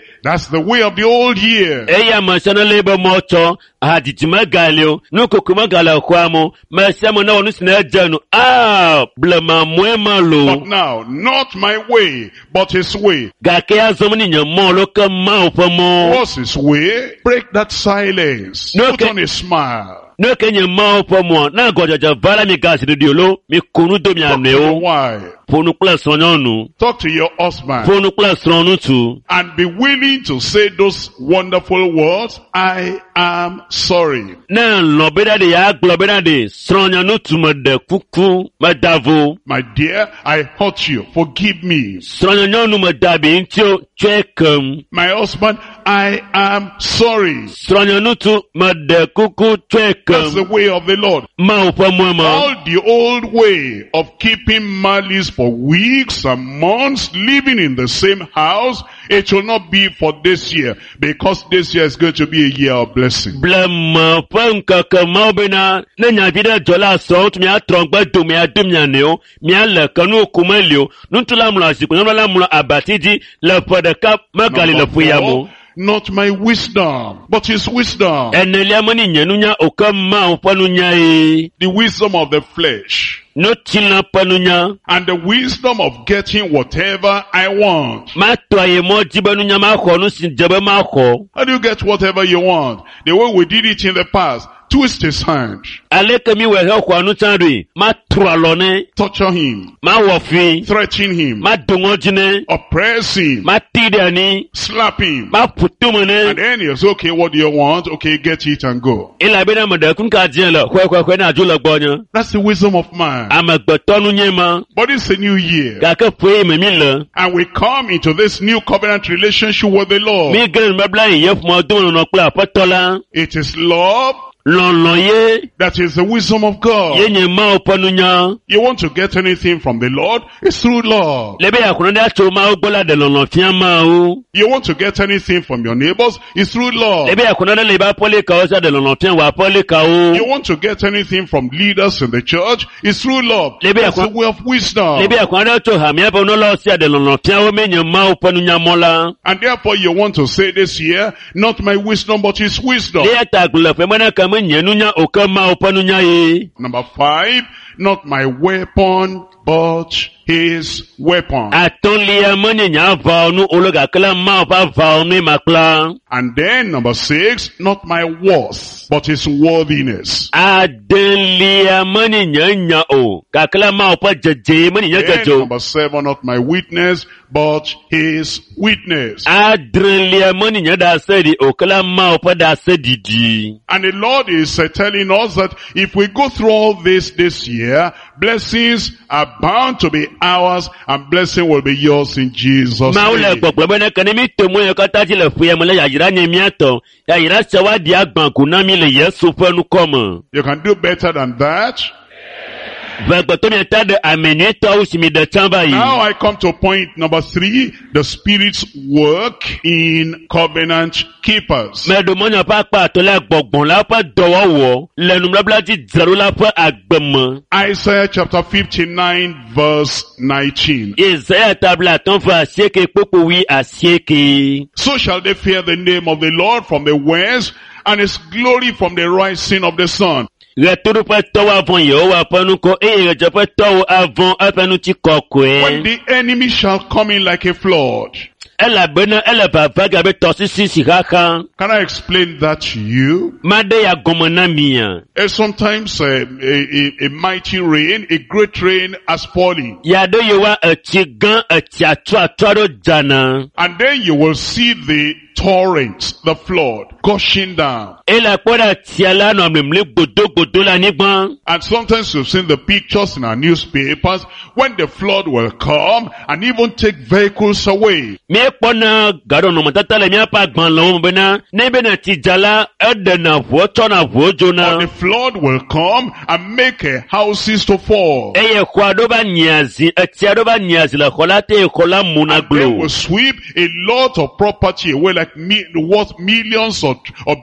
That's the way of the old year. Eye ame sia ne lé be mɔ tsɔ, hadzidzi megali o, nukoko megale xɔa me o, me sia ame newɔ nu si ne edze nu. Aa, blema mɔe ma loo. But now, not my way, but his way. Gake azɔ menye nye mɔ lo ke Mawu ƒe mɔ. What's his way? Break that silence. No, Put okay. on a smile. Ne ke nye Mawu ƒe mɔa, ne agɔdzedze va la mi ga zi ɖuɖui o lo, mi ko nu do mia Talk to your nɔewo. wife. Ƒo nu kple srɔ̃nyɔnu. Talk to your husband. Ƒo nu kple srɔ̃ŋutsu. And be willing to say those wonderful words, I am sorry. Ne lɔ̃ bena ɖe yeagblɔ bena ɖe srɔ̃nyaŋutsu meɖe kuku meda vo. My dear, I hurt you. Forgive me. Srɔ̃nyɔnu meda abi ŋuti o, tsɔe kem. My husband, I am sorry. Srɔ̃nyaŋutsu meɖe kuku tsɔe That's the kem. way of the Lord. Mawu ƒe mɔe ma. All the old way of keeping malice for weeks and months, living in the same house, it will not be for this year, because this year is going to be a year of blessing. Blema ƒe ŋkeke mawo bena ne nyavi ɖe dzɔ la srɔ̃ŋutsu miatrɔ ŋgbe do miado mia nɔewo, miale ke nu ku meli o. Ŋutsu la mlɔ zikpui, nyɔnu la mlɔ abati dzi le ƒe ɖeka megali le Number ƒe ya me o. four, not my wisdom, but his wisdom. Enelia menye nye nunya o ke Mawu ƒe nunya ye. The wisdom of the flesh Nutsilã ƒe nunya. and the wisdom of getting whatever I want. Matɔ ayi mɔ dzi be nunya maxɔ nu si dze be maxɔ. How do you get whatever you want? The way we did it in the past, twist his hand, Aleke mi wɔ hexɔa nu tsã ɖoe? Matrɔ alɔ nɛ, torture him, mawɔ fui, threaten him, mado ŋɔdzi nɛ, oppress him, mati ɖe anyi, slap him. maƒo tome And nɛ. then he'll say, okay, what do you want? Okay, get it and go. Elabena ame ɖe kuka dzẽ le xɔexɔexɔe na dzo le gbɔnye. That's the wisdom of man. Amegbetɔ nunye ma. But it's a new year. Gake ƒe yi me mi le. And we come into this new covenant relationship with the Lord. Mi ge ɖe nubabla yi ye ƒome dome nɔnɔ kple aƒetɔ la. It is love Lɔlɔ̃ ye that is the wisdom of ye God. nye Mawu ƒe nunya. You want to get anything from the Lord? It's through love. Le be yeaxɔ nane atso Mawu gbɔ la ɖe lɔlɔ̃ fia Mawu. You want to get anything from your neighbors? It's through love. Le be yeaxɔ nane le yiƒe aƒelikawo sia ɖe lɔlɔ̃ fia wò aƒelikawo. You want to get anything from leaders in the church? It's through love. That's the way of wisdom. Le be yeaxɔ nane tso hamea ƒe nunɔlawo sia ɖe lɔlɔ̃ fia wo menye Mawu ƒe nunyamɔ la. And therefore you want to say this year, not my wisdom, but his wisdom. Eya ta gblɔ le ƒe me na ke menye nunya o ke Mawu ƒe nunya ye. Number 5, not my weapon, but his weapon. Atɔ̃lia menye nye aʋawɔnu o le gake la Mawu ƒe aʋawɔnue makpla. And then number 6, not my worth, but his worthiness. Adelia menye nye nya o gake la Mawu ƒe dzedze menye nye Then dzedze o. number 7, not my witness, but his witness. Adrelia menye nye ɖaseɖi o ke la Mawu ƒe ɖaseɖiɖi. And the Lord is telling us that if we go through all this year, blessings are bound to be ours, and blessing will be yours in Jesus' Mawu le name. gbɔgblɔ be ne ke ne mi to mɔ yiwo katã dzi le ƒea me la yayra nye mía tɔ. Yayra sia woaɖi agbã go na mi le Yesu ƒe ŋkɔ me. You can do better than that. Ʋegbetɔ miata ɖe ame nyuietɔwo si mi ɖe tsã va yi. Now I come to point number 3, the Spirit's work in covenant keepers. Meɖo mɔnya ƒe akpa atɔ̃lia gbɔgbɔ la ƒe dɔwɔwɔ le nubabla dzi dzraɖola ƒe agbe me. Isaiah chapter 59 verse 19. Yesaya ta 58 kpukpui 89. So shall they fear the name of the Lord from the west, and his glory from the rising of the sun. Ɣetoɖoƒetɔwo avɔ̃ Yehowa ƒe ŋkɔ eye ɣedzeƒetɔwo avɔ̃ eƒe ŋutikɔkɔe. When the enemy shall come in like a flood. Elabena ele vava ge abe tɔsisi si xaxa. Can I explain that to you? Maɖe ya gɔme na mia. Sometimes a mighty rain, a great rain has fallen. Ya ɖe yewoa etsi gã etsi atsuatsu aɖewo dzana. And then you will see the torrent, the flood, gushing down. Ele akpɔ ɖe tsia la nɔ mlimli godogodo le anyigba. And sometimes you've seen the pictures in our newspapers when the flood will come and even take vehicles away. Míekpɔna gaɖɔnɔmetata le míaƒe agbalẽwo me bena ne bena tsi dza la, eɖena ʋuwo tsɔna ʋuwo dzona. Or the flood will come and make houses to fall. Eye xɔ aɖewo va nyia zi, etsi aɖewo va nyia zi le xɔ la te eye xɔ la muna And they glo. will sweep a lot of property away like worth millions or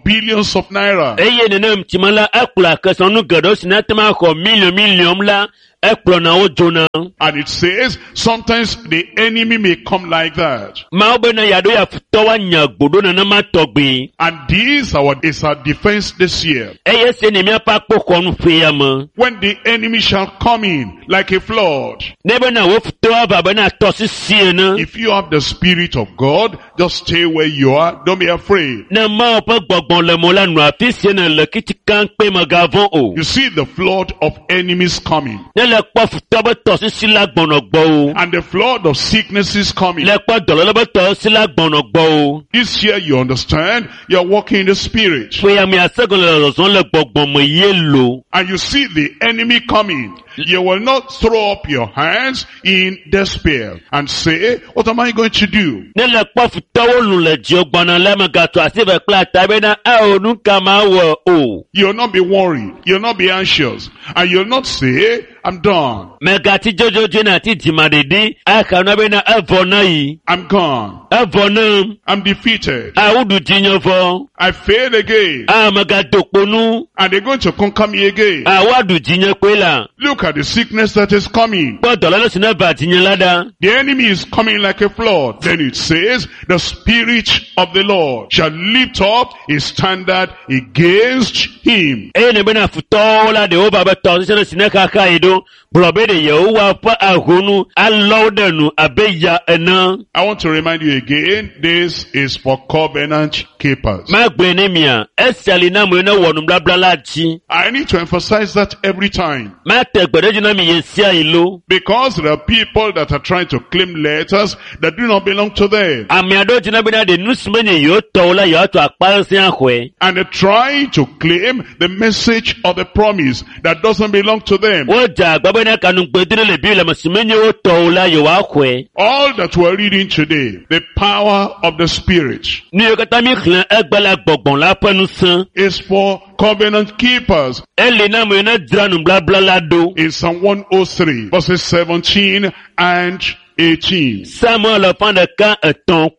billions of naira. Eye nenem tsime la, ekplɔ kesinɔnu geɖewo si nate ŋu axɔ miliɔn miliɔn la, ekplɔna wo dzona. And it says sometimes the enemy may come like that. Mawu bena yeaɖo ya futɔ woanya gbo ɖo nenema tɔgbi. And this is our defense this year. Eye esi nye míaƒe akpoxɔnu ƒe ya me. When the enemy shall come in like a flood. Ne bena wo futɔ ava bena tɔsisi ene. If you have the Spirit of God, just stay where you are. Don't be afraid. Ne Mawu ƒe gbɔgbɔ le mo la nɔ afi si ne le kitikã kpe megavɔ̃ o. You see the flood of enemies coming. Ne le kpɔ futɔ be tɔsisi la gbɔnɔ gbɔ o. And the flood of sicknesses coming. Le kpɔ dɔléle be tɔsisi la gbɔnɔ gbɔ o. This year, you understand, you're walking in the Spirit. Ƒe ya me ase gɔme le zɔzɔm le gbɔgbɔ me ye lo. And you see the enemy coming. You will not throw up your hands in despair and say, what am I going to do? Ne le kpɔ futɔwo lu le dziwò gbɔna la megatso asi ve kple ata bena ao nu ka ma wɔ o. You'll not be worried. You'll not be anxious. And you'll not say, I'm done. Megati dzodzodzoe na ti dzimaɖeɖi axa na bena evɔ na yi. I'm gone. Evɔ nam. I'm defeated. Awu ɖu dzinye vɔ. I failed again. A megado kponu. And they're going to conquer me again. Awa ɖu dzinye kpoe la. Look at the sickness that is coming. Kpɔ dɔléle si ne va dzinye la ɖa. The enemy is coming like a flood. Then it says, the Spirit of the Lord shall lift up his standard against him. Eye ne bena futɔwo la ɖewo va be tɔsisi ɖe si ne xaxa yi ɖo gblɔ be ɖe Yehowa ƒe ahonu alɔ wo ɖe nu abe ya ene. I want to remind you again, this is for covenant keepers. Magblɔe ne mia, esia li na amewo ne wɔ nubabla la dzi. I need to emphasize that every time. Mate gbe ɖe edzi na mi ɣe sia ɣi lo. Because there are people that are trying to claim letters that do not belong to them. Ame aɖewo dzina bena ɖe nu si menye yewo tɔwo la yewoatsɔ akpa sesẽ axɔe. And they're trying to claim the message of the promise that doesn't belong to them. Wodze agba bena kanugbedre le Biblia me si menye wo tɔwo la yewoaxɔe. All that we're reading today, the power of the Spirit, Nu yiwo katã mi xlẽ egbe la gbɔgbɔ la ƒe ŋusẽ. is for covenant keepers. Eli na amewo ne dzra nubabla la ɖo. In Psalm 103, verses 17 and 18. Samuel 103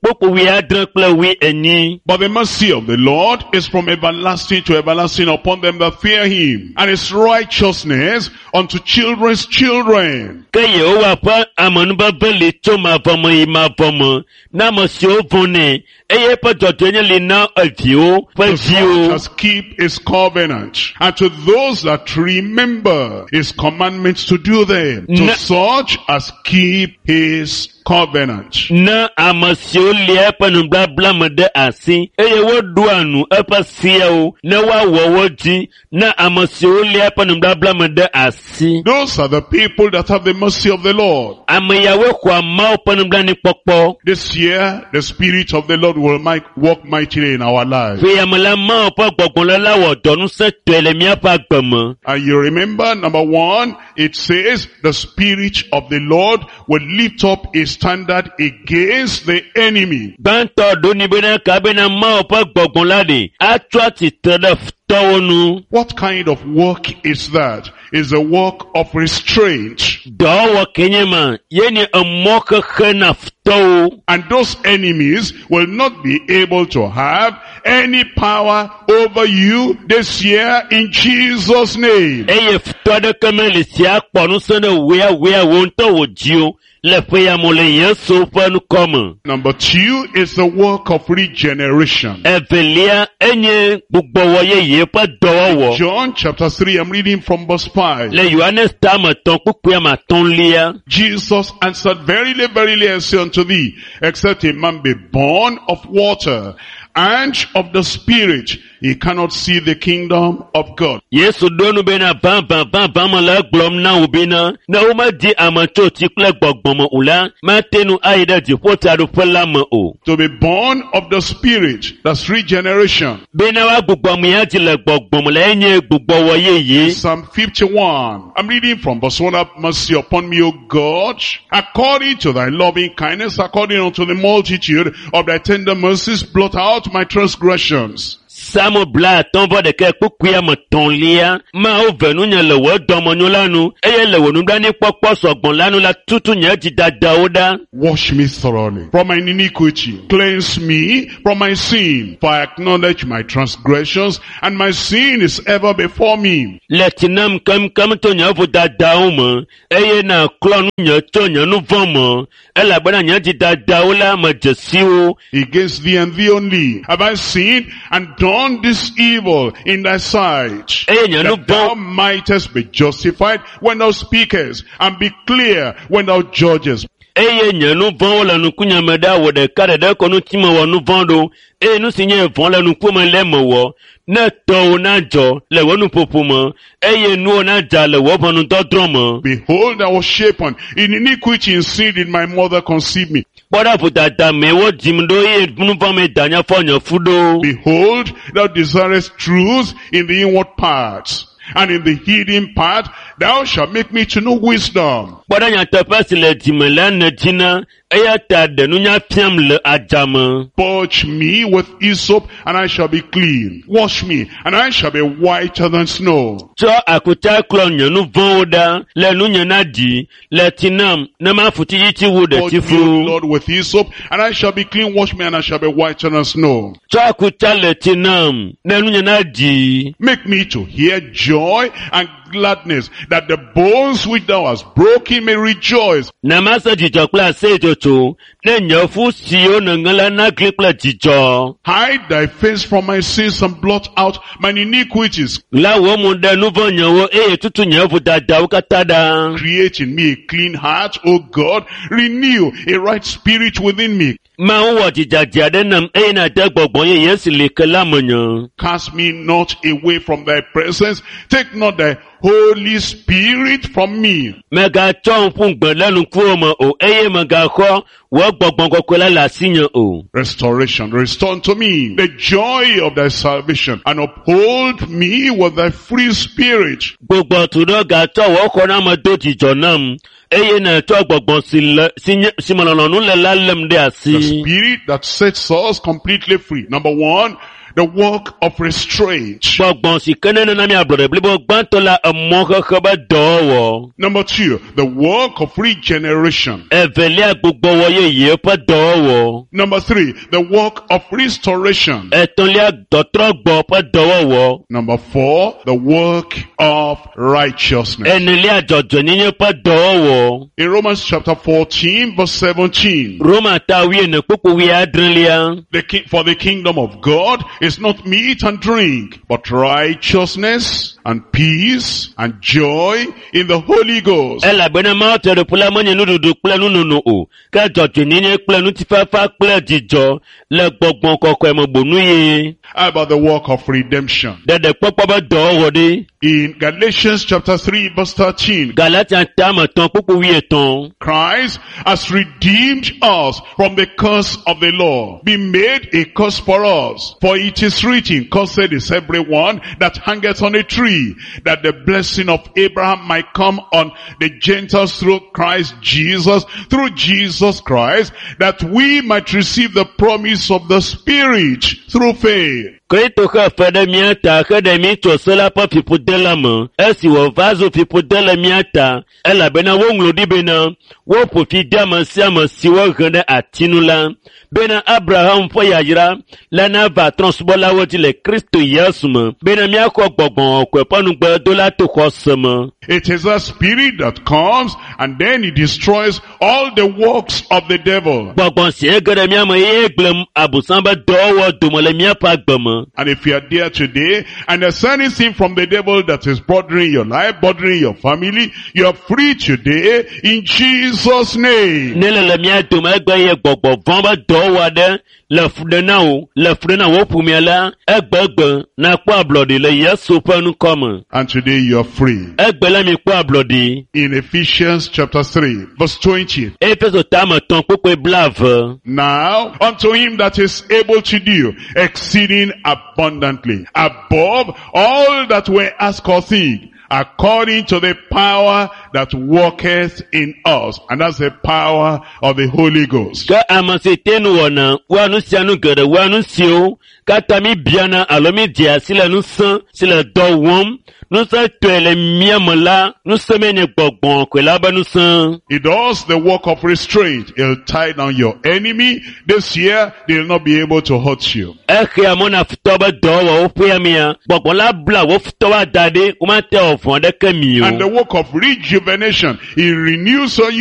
kpukpui 7 kple 8. But the mercy of the Lord is from everlasting to everlasting upon them that fear him, and his righteousness unto children's children. Ke Yehowa ƒe amenuveve li tso mavɔ me yi mavɔ me na ame siwo vɔ̃nɛ eye eƒe dzɔdzɔenye li na eviwo ƒe To such viwo. as keep his covenant, and to those that remember his commandments to do them, to such as keep his covenant. Na ame siwo lia eƒe nubabla me ɖe asi eye woɖoa nu eƒe seawo ne woawɔ wo dzi na ame siwo lia eƒe nubabla me ɖe asi. Those are the people that have the mercy of the Lord. Ame yawoe xɔa Mawu ƒe nublanuikpɔkpɔ. This year, the Spirit of the Lord will work mightily in our lives. Ƒe ya me la, Mawu ƒe gbɔgbɔ la wɔ dɔ ŋusẽtɔe le míaƒe agbe me. And you remember, number 1, it says the Spirit of the Lord will lift up a standard against the enemy. Gbãtɔ ɖo ni bena ka bena Mawu ƒe gbɔgbɔ la ɖe atsɔ atsitre ɖe futɔwo nu. What kind of work is that? It's a work of restraint. Dɔwɔwɔ ke nye ma, ye nye emɔ xexe na futɔwo. And those enemies will not be able to have any power over you this year in Jesus' name. Eye futɔ aɖeke meli si akpɔ ŋusẽ ɖe wòya wòya wò ŋutɔ wò dzi o le ƒe ya me le Yesu ƒe ŋkɔ me. Number 2 is the work of regeneration. Evelia enye gbugbɔwɔ yeye ƒe dɔwɔwɔ. John chapter 3, I'm reading from verse 5. Le Yohanes tame etɔ̃ kpukpui ame atɔ̃lia, Jesus answered, Verily, verily, I say unto thee, except a man be born of water and of the Spirit, he cannot see the kingdom of God. Yesu ɖo nu bena vavã vavã me le egblɔm na wò bena ne womedi ame tso tsi kple gbɔgbɔ me o la, mate ŋu ayi ɖe dziƒotsiaɖuƒe la me o. To be born of the Spirit, that's regeneration. Bena woagbugbɔ mía dzi le gbɔgbɔ me la enye gbugbɔwɔ yeye. Psalm 51. I'm reading from verse 1. Have mercy upon me, O God, according to thy loving kindness, according unto the multitude of thy tender mercies, blot out my transgressions. Psalm 51 kpukpui ame etɔ̃lia, Mawu ve nunye le wò dɔmenyo la nu, eye le wò nublanuikpɔkpɔ sɔgbɔ la nu la tutu nye dzidadawo ɖa. Wash me thoroughly from mine iniquity. Cleanse me from my sin. For I acknowledge my transgressions, and my sin is ever before me. Le tsi nam keŋkeŋ tso nye vodadawo me, eye nàklɔ nunye tso nye nu vɔ̃ me, elabena nye dzidadawo la medze si wo. Against thee and thee only have I sinned and done this evil in thy sight, Eye nye nu that thou vɔ̃ mightest be justified when thou speakest, and be clear when thou judgest. Eye nye nu vɔ̃wo le nukunye me ɖa wò ɖeka ɖeɖe ko ŋuti mewɔ nu vɔ̃ ɖo, eye nu si nye vɔ̃ le ŋkume le mewɔ. Ne tɔwò nadzɔ le wò nuƒoƒo me, eye nuwò nadza le wò ʋɔnudɔdrɔ̃ me. Behold, I was shapen in iniquity, in sin did my mother conceive me. Kpɔ ɖa vodada mee wodzim ɖo eye nu vɔ̃ mee danye fɔ nye fu ɖo. Behold, thou desirest truth in the inward parts, and in the hidden part thou shalt make me to know wisdom. Kpɔ ɖa nyateƒe si le dzime la nèdzina, eya ta ɖe nunya fiam le adzame. Purge me with hyssop, and I shall be clean. Wash me, and I shall be whiter than snow. Tsɔ akutsa klɔ nye nu vɔ̃wo ɖa le nunye na dzi, le tsi nam ne mafu tsitsitsi wu Purge me, O ɖetifu. Lord, with hyssop, and I shall be clean. Wash me, and I shall be whiter than snow. Tsɔ akutsa le tsi nam ne nunye na dzi. Make me to hear joy and gladness, that the bones which thou hast broken may rejoice. Na mase dzidzɔ kple aseyetsotso, ne nye fu siwo nèŋe la nagli kple dzidzɔ. Hide thy face from my sins and blot out mine iniquities. La wò mo ɖe nu vɔ̃ nyewo eye tutu nye vodadawo katã ɖa. Create in me a clean heart, O God. Renew a right spirit within me. Mawu wɔ dzidzadza aɖe nam eye nàde gbɔgbɔ yeye si li ke la menye. Cast me not away from thy presence. Take not thy Holy Spirit from me. Mègatsɔm ƒu gbe ɖe ŋkuwò me o eye mègaxɔ wò gbɔgbɔ kɔkɔe la le asinye o. Restoration. Restore unto me the joy of thy salvation, and uphold me with thy free spirit. Gbugbɔ tu ɖo gatsɔ wò xɔname do dzidzɔ nam eye nàtsɔ gbɔgbɔ si le si nye si me lɔlɔ̃nu le la lém ɖe The asi. spirit that sets us completely free. Number 1, the work of restraint. Gbɔgbɔ si ke nenana mi ablɔɖe blibo gbãtɔ la emɔ xexe be dɔwɔwɔ. Number 2, the work of regeneration. Evelia gbugbɔwɔ yeye ƒe dɔwɔwɔ. Number 3, the work of restoration. Etɔ̃lia dɔtrɔgbɔ ƒe dɔwɔwɔ. Number 4, the work of righteousness. Enelia dzɔdzɔenyenye ƒe dɔwɔwɔ. In Romans chapter 14, verse 17, Roma ta wuiene kpukpu wuiadrelia. for the kingdom of God is not meat and drink, but righteousness and peace and joy in the Holy Ghost. Elabena Mawu fiaɖuƒe la menye nuɖuɖu kple nunono o, ke dzɔdzɔenyenye kple ŋutifafa kple dzidzɔ le gbɔgbɔ kɔkɔe me bonu ye. How about the work of redemption? Ɖeɖekpɔkpɔ be dɔwɔwɔ ɖe. In Galatians chapter 3 verse 13, Galatia tame etɔ̃ kpukpu wuietɔ̃. Christ has redeemed us from the curse of the law, been made a curse for us. For it is written, cursed is everyone that hangeth on a tree, that the blessing of Abraham might come on the Gentiles through Christ Jesus, through Jesus Christ, that we might receive the promise of the Spirit through faith. Kristo xe fe ɖe mía ta heɖe mí tso se la ƒe fiƒode la me esi wòva zu fiƒode le mía ta elabena woŋlɔ ɖi bena woƒo fi de ame sia ame si wohe ɖe ati nu la bena Abraham ƒe yayra la nava trɔ̃subɔlawo dzi le Kristo Yesu me bena míaxɔ gbɔgbɔ kɔkɔe ƒe nugbedo to xɔse me. It is a spirit that comes and then it destroys all the works of the devil. Gbɔgbɔ sie ge ɖe mía me eye gblẽ abosam be dɔwɔwɔ dome le míaƒe agbe me. And if you are there today and there's anything from the devil that is bothering your life, bothering your family, you are free today in Jesus' name. Ne le le mía dome egbe ye gbɔgbɔ vɔ̃ be dɔwɔwɔ aɖe le fu ɖe na wò le fu ɖe na wò ƒomea la egbegbe nakpɔ ablɔɖi le Yesu ƒe ŋkɔ me. And today you are free. Egbe la mi kpɔ ablɔɖi. In Ephesians chapter 3, verse 20. Efeso tame etɔ̃ kpukpui blaeve. Now unto him that is able to do exceeding abundantly above all that we ask or think, according to the power that worketh in us. And that's the power of the Holy Ghost. Ke ame si te nu wɔna wɔa nu sia nu geɖe wɔa nu siwo katã mi biana alo mi dzea si le ŋusẽ si le dɔ wɔm ŋusẽ tɔe le mía me la ŋusẽ mee nye gbɔgbɔ kɔkɔe la be ŋusẽ. He does the work of restraint. He'll tie down your enemy. This year, they'll not be able to hurt you. Exea mɔ na futɔ be dɔwɔwɔwo ƒe amea gbɔgbɔ la bla wo futɔwo ada ɖi womate wɔ vɔ̃ aɖeke mi And the o. work of rejuvenation, he renews on you.